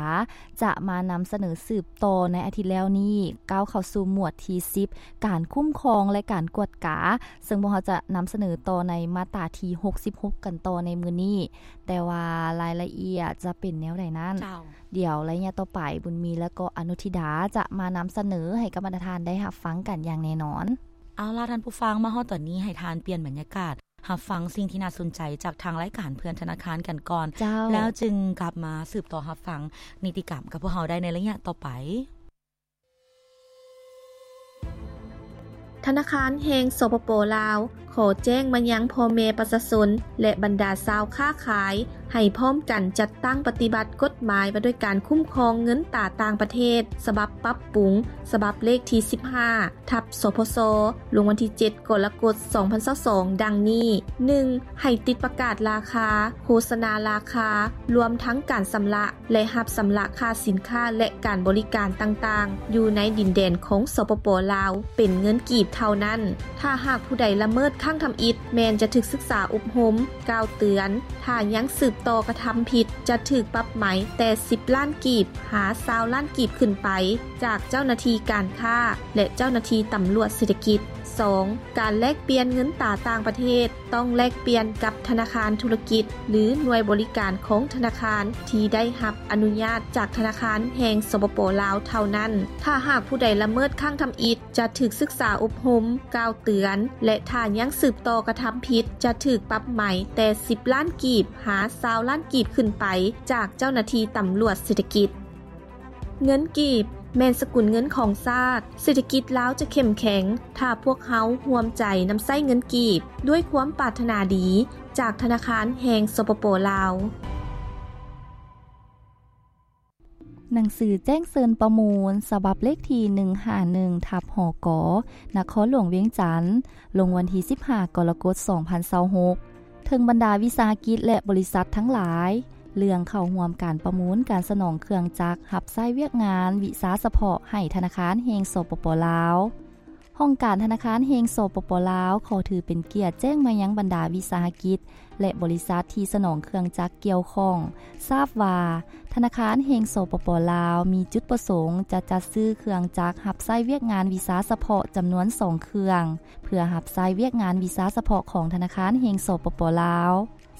ຈະມານຳສະເໜີສືບຕໍ່ໃນອາທິດແລ້ວນີ້ ກ້າວເຂົ້າສູ່ໝວດທີສິບ ການຄຸ້ມຄອງ ແລະການກວດກາ ເຊິ່ງພວກເຮົາຈະນຳສະເໜີຕໍ່ໃນມາດຕາທີຫົກສິບຫົກກັນຕໍ່ໃນມື້ນີ້ ແຕ່ວ່າລາຍລະອຽດຈະເປັນແນວໃດນັ້ນ ເຈົ້າ ດຽວໄລຍະຕໍ່ໄປ ບຸນມີ ແລະກໍອະນຸທິດາ ຈະມານຳສະເໜີໃຫ້ກັບບັນດາທ່ານໄດ້ຮັບຟັງກັນຢ່າງແນ່ນອນ. ເອົາລະ ທ່ານຜູ້ຟັງ ມາຮອດຕອນນີ້ ໃຫ້ທ່ານປ່ຽນບັນຍາກາດ ຮັບຟັງສິ່ງທີ່ໜ້າສົນໃຈຈາກທາງລາຍການເພື່ອນທະນາຄານກັນກ່ອນ ເຈົ້າ ແລ້ວຈຶ່ງກັບມາສືບຕໍ່ຮັບຟັງນິຕິກຳກັບພວກເຮົາໄດ້ໃນໄລຍະຕໍ່ໄປ. ທະນາຄານແຫ່ງ ສປປ ລາວ ຂໍແຈ້ງມາຍັງພໍ່ແມ່ປະຊາຊົນ ແລະ ບັນດາຊາວຄ້າຂາຍ ໃຫ້ພ້ອມກັນຈັດຕັ້ງປະຕິບັດກົດໝາຍວ່າດ້ວຍການຄຸ້ມຄອງເງິນຕາຕ່າງປະເທດ ສະບັບປັບປຸງ ສະບັບເລກທີສິບຫ້າ ທັບ ສພຊ ລົງວັນທີເຈັດ ກໍລະກົດ ສອງພັນຊາວສອງ ດັ່ງນີ້: ໜຶ່ງ ໃຫ້ຕິດປະກາດລາຄາ, ໂຄສະນາລາຄາ, ລວມທັງການຊຳລະ ແລະ ຮັບຊຳລະຄ່າສິນຄ້າ ແລະ ການບໍລິການຕ່າງໆ ຢູ່ໃນດິນແດນຂອງ ສປປ ລາວ ເປັນເງິນກີບເທົ່ານັ້ນ. ຖ້າຫາກຜູ້ໃດລະເມີດຄັ້ງທຳອິດ ແມ່ນຈະຖືກສຶກສາອົບຮົມ, ກ່າວເຕືອນ, ຖ້າຍັງສືບຕໍ່ກະທຳຜິດ ຈະຖືກປັບໃໝແຕ່ສິບລ້ານກີບ ຫາ ຊາວລ້ານກີບຂຶ້ນໄປ ຈາກເຈົ້າໜ້າທີ່ການຄ້າ ແລະ ເຈົ້າໜ້າທີ່ຕຳຫຼວດເສດຖະກິດ. ສອງ ການແລກປ່ຽນເງິນຕາຕ່າງປະເທດ ຕ້ອງແລກປ່ຽນກັບທະນາຄານທຸລະກິດ ຫຼື ໜ່ວຍບໍລິການຂອງທະນາຄານທີ່ໄດ້ຮັບອະນຸຍາດຈາກທະນາຄານແຫ່ງ ສປປ ລາວ ເທົ່ານັ້ນ. ຖ້າຫາກຜູ້ໃດລະເມີດຄັ້ງທຳອິດ ຈະຖືກສຶກສາອົບຮົມ, ກ່າວເຕືອນ ແລະ ຖ້າຍັງສືບຕໍ່ກະທຳຜິດ ຈະຖືກປັບໃໝແຕ່ສິບລ້ານກີບ ຫາ ຊາວລ້ານກີບຂຶ້ນໄປ ຈາກເຈົ້າໜ້າທີ່ຕຳຫຼວດເສດຖະກິດ. ເງິນກີບ ແມ່ນສະກຸນເງິນຂອງຊາດ, ເສດຖະກິດລາວຈະເຂັ້ມແຂງ ຖ້າພວກເຮົາຮ່ວມໃຈນຳໃຊ້ເງິນກີບ ດ້ວຍຄວາມປາດຖະໜາດີ ຈາກທະນາຄານແຫ່ງ ສປປ ລາວ. ໜັງສືແຈ້ງເຊີນປະມູນ ສະບັບເລກທີໜຶ່ງຫ້າໜຶ່ງ ທັບ ຫກ ນະຄອນຫຼວງວຽງຈັນ ລົງວັນທີສິບຫ້າ ກໍລະກົດ ສອງພັນຊາວຫົກ ເຖິງບັນດາວິສາຫະກິດ ແລະ ບໍລິສັດທັງຫຼາຍ ເລື່ອງເຂົ້າຮ່ວມການປະມູນການສະໜອງເຄື່ອງຈັກຮັບໃຊ້ວຽກງານວິຊາສະເພາະໃຫ້ທະນາຄານແຫ່ງ ສປປ ລາວ. ຫ້ອງການທະນາຄານແຫ່ງ ສປປ ລາວ ຂໍຖືເປັນກຽດແຈ້ງມາຍັງບັນດາວິສາຫະກິດ ແລະ ບໍລິສັດທີ່ສະໜອງເຄື່ອງຈັກກ່ຽວຂ້ອງ ຊາບວ່າ ທະນາຄານແຫ່ງ ສປປ ລາວ ມີຈຸດປະສົງຈະຈັດຊື້ເຄື່ອງຈັກຮັບໃຊ້ວຽກງານວິຊາສະເພາະຈຳນວນສອງເຄື່ອງ ເພື່ອຮັບໃຊ້ວຽກງານວິຊາສະເພາະຂອງທະນາຄານແຫ່ງ ສປປ ລາວ.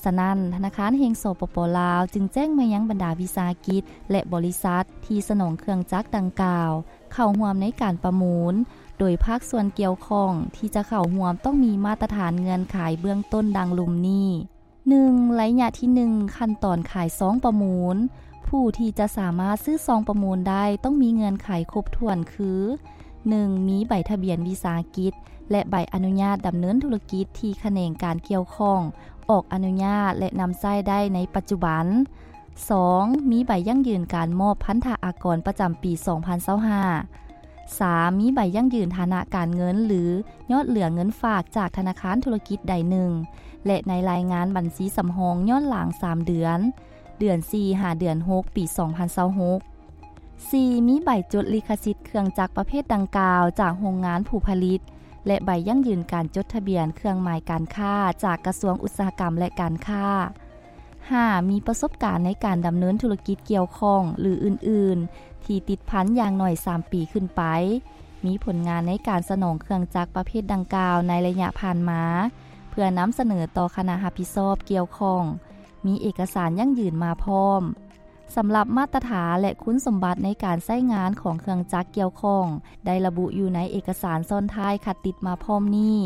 ສະນັ້ນ, ທະນາຄານແຫ່ງ ສປປ ລາວ ຈຶ່ງແຈ້ງມາຍັງບັນດາວິສາຫະກິດ ແລະ ບໍລິສັດທີ່ສະໜອງເຄື່ອງຈັກດັ່ງກ່າວ ເຂົ້າຮ່ວມໃນການປະມູນ, ໂດຍພາກສ່ວນກ່ຽວຂ້ອງທີ່ຈະເຂົ້າຮ່ວມຕ້ອງມີມາດຕະຖານເງື່ອນໄຂເບື້ອງຕົ້ນດັ່ງລຸ່ມນີ້: ໜຶ່ງ, ໄລຍະທີໜຶ່ງ ຂັ້ນຕອນຂາຍຊອງປະມູນ. ຜູ້ທີ່ຈະສາມາດຊື້ຊອງປະມູນໄດ້ຕ້ອງມີເງື່ອນໄຂຄົບຖ້ວນຄື: ໜຶ່ງ, ມີໃບທະບຽນວິສາຫະກິດ ແລະ ໃບອະນຸຍາດດຳເນີນທຸລະກິດທີ່ຂະແໜງການກ່ຽວຂ້ອງອອກອະນຸຍາດ ແລະ ນຳໃຊ້ໄດ້ໃນປັດຈຸບັນ. ສອງ, ມີໃບຢັ້ງຢືນການມອບພັນທະອາກອນປະຈຳປີສອງພັນຊາວຫ້າ. ສາມ, ມີໃບຢັ້ງຢືນຖານະການເງິນ ຫຼື ຍອດເຫຼືອເງິນຝາກຈາກທະນາຄານທຸລະກິດໃດໜຶ່ງ ແລະ ໃນລາຍງານບັນຊີສຳຮອງຍ້ອນຫຼັງສາມເດືອນ, ເດືອນສີ່ ຫາ ເດືອນຫົກ ປີສອງພັນຊາວຫົກ. ສີ່, ມີໃບຈົດລິຂະສິດເຄື່ອງຈັກປະເພດດັ່ງກ່າວຈາກໂຮງງານຜູ້ຜະລິດ ແລະ ໃບຢັ້ງຢືນການຈົດທະບຽນເຄື່ອງໝາຍການຄ້າຈາກກະຊວງອຸດສາຫະກຳ ແລະ ການຄ້າ. ຫ້າ, ມີປະສົບການໃນການດຳເນີນທຸລະກິດກ່ຽວຂ້ອງ ຫຼື ອື່ນໆ ທີ່ຕິດພັນຢ່າງໜ້ອຍສາມປີຂຶ້ນໄປ, ມີຜົນງານໃນການສະໜອງເຄື່ອງຈັກປະເພດດັ່ງກ່າວໃນໄລຍະຜ່ານມາ ເພື່ອນຳສະເໜີຕໍ່ຄະນະຮັບຜິດຊອບກ່ຽວຂ້ອງ, ມີເອກະສານຢັ້ງຢືນມາພ້ອມ. ສຳລັບມາດຕະຖານ ແລະ ຄຸນສົມບັດໃນການໃຊ້ງານຂອງເຄື່ອງຈັກກ່ຽວຂ້ອງ ໄດ້ລະບຸຢູ່ໃນເອກະສານຊ້ອນທ້າຍຄັດຕິດມາພ້ອມນີ້.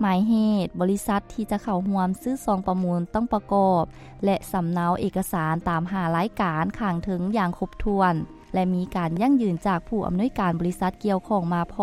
ໝາຍເຫດ, ບໍລິສັດທີ່ຈະເຂົ້າຮ່ວມຊື້ຊອງປະມູນຕ້ອງປະກອບ ແລະ ສຳເນົາເອກະສານຕາມຫ້າລາຍການຂ້າງເທິງຢ່າງຄົບຖ້ວນ ແລະ ມີການຢັ້ງຢືນຈາກຜູ້ອຳນວຍການບໍລິສັດກ່ຽວຂ້ອງມາພ້ອ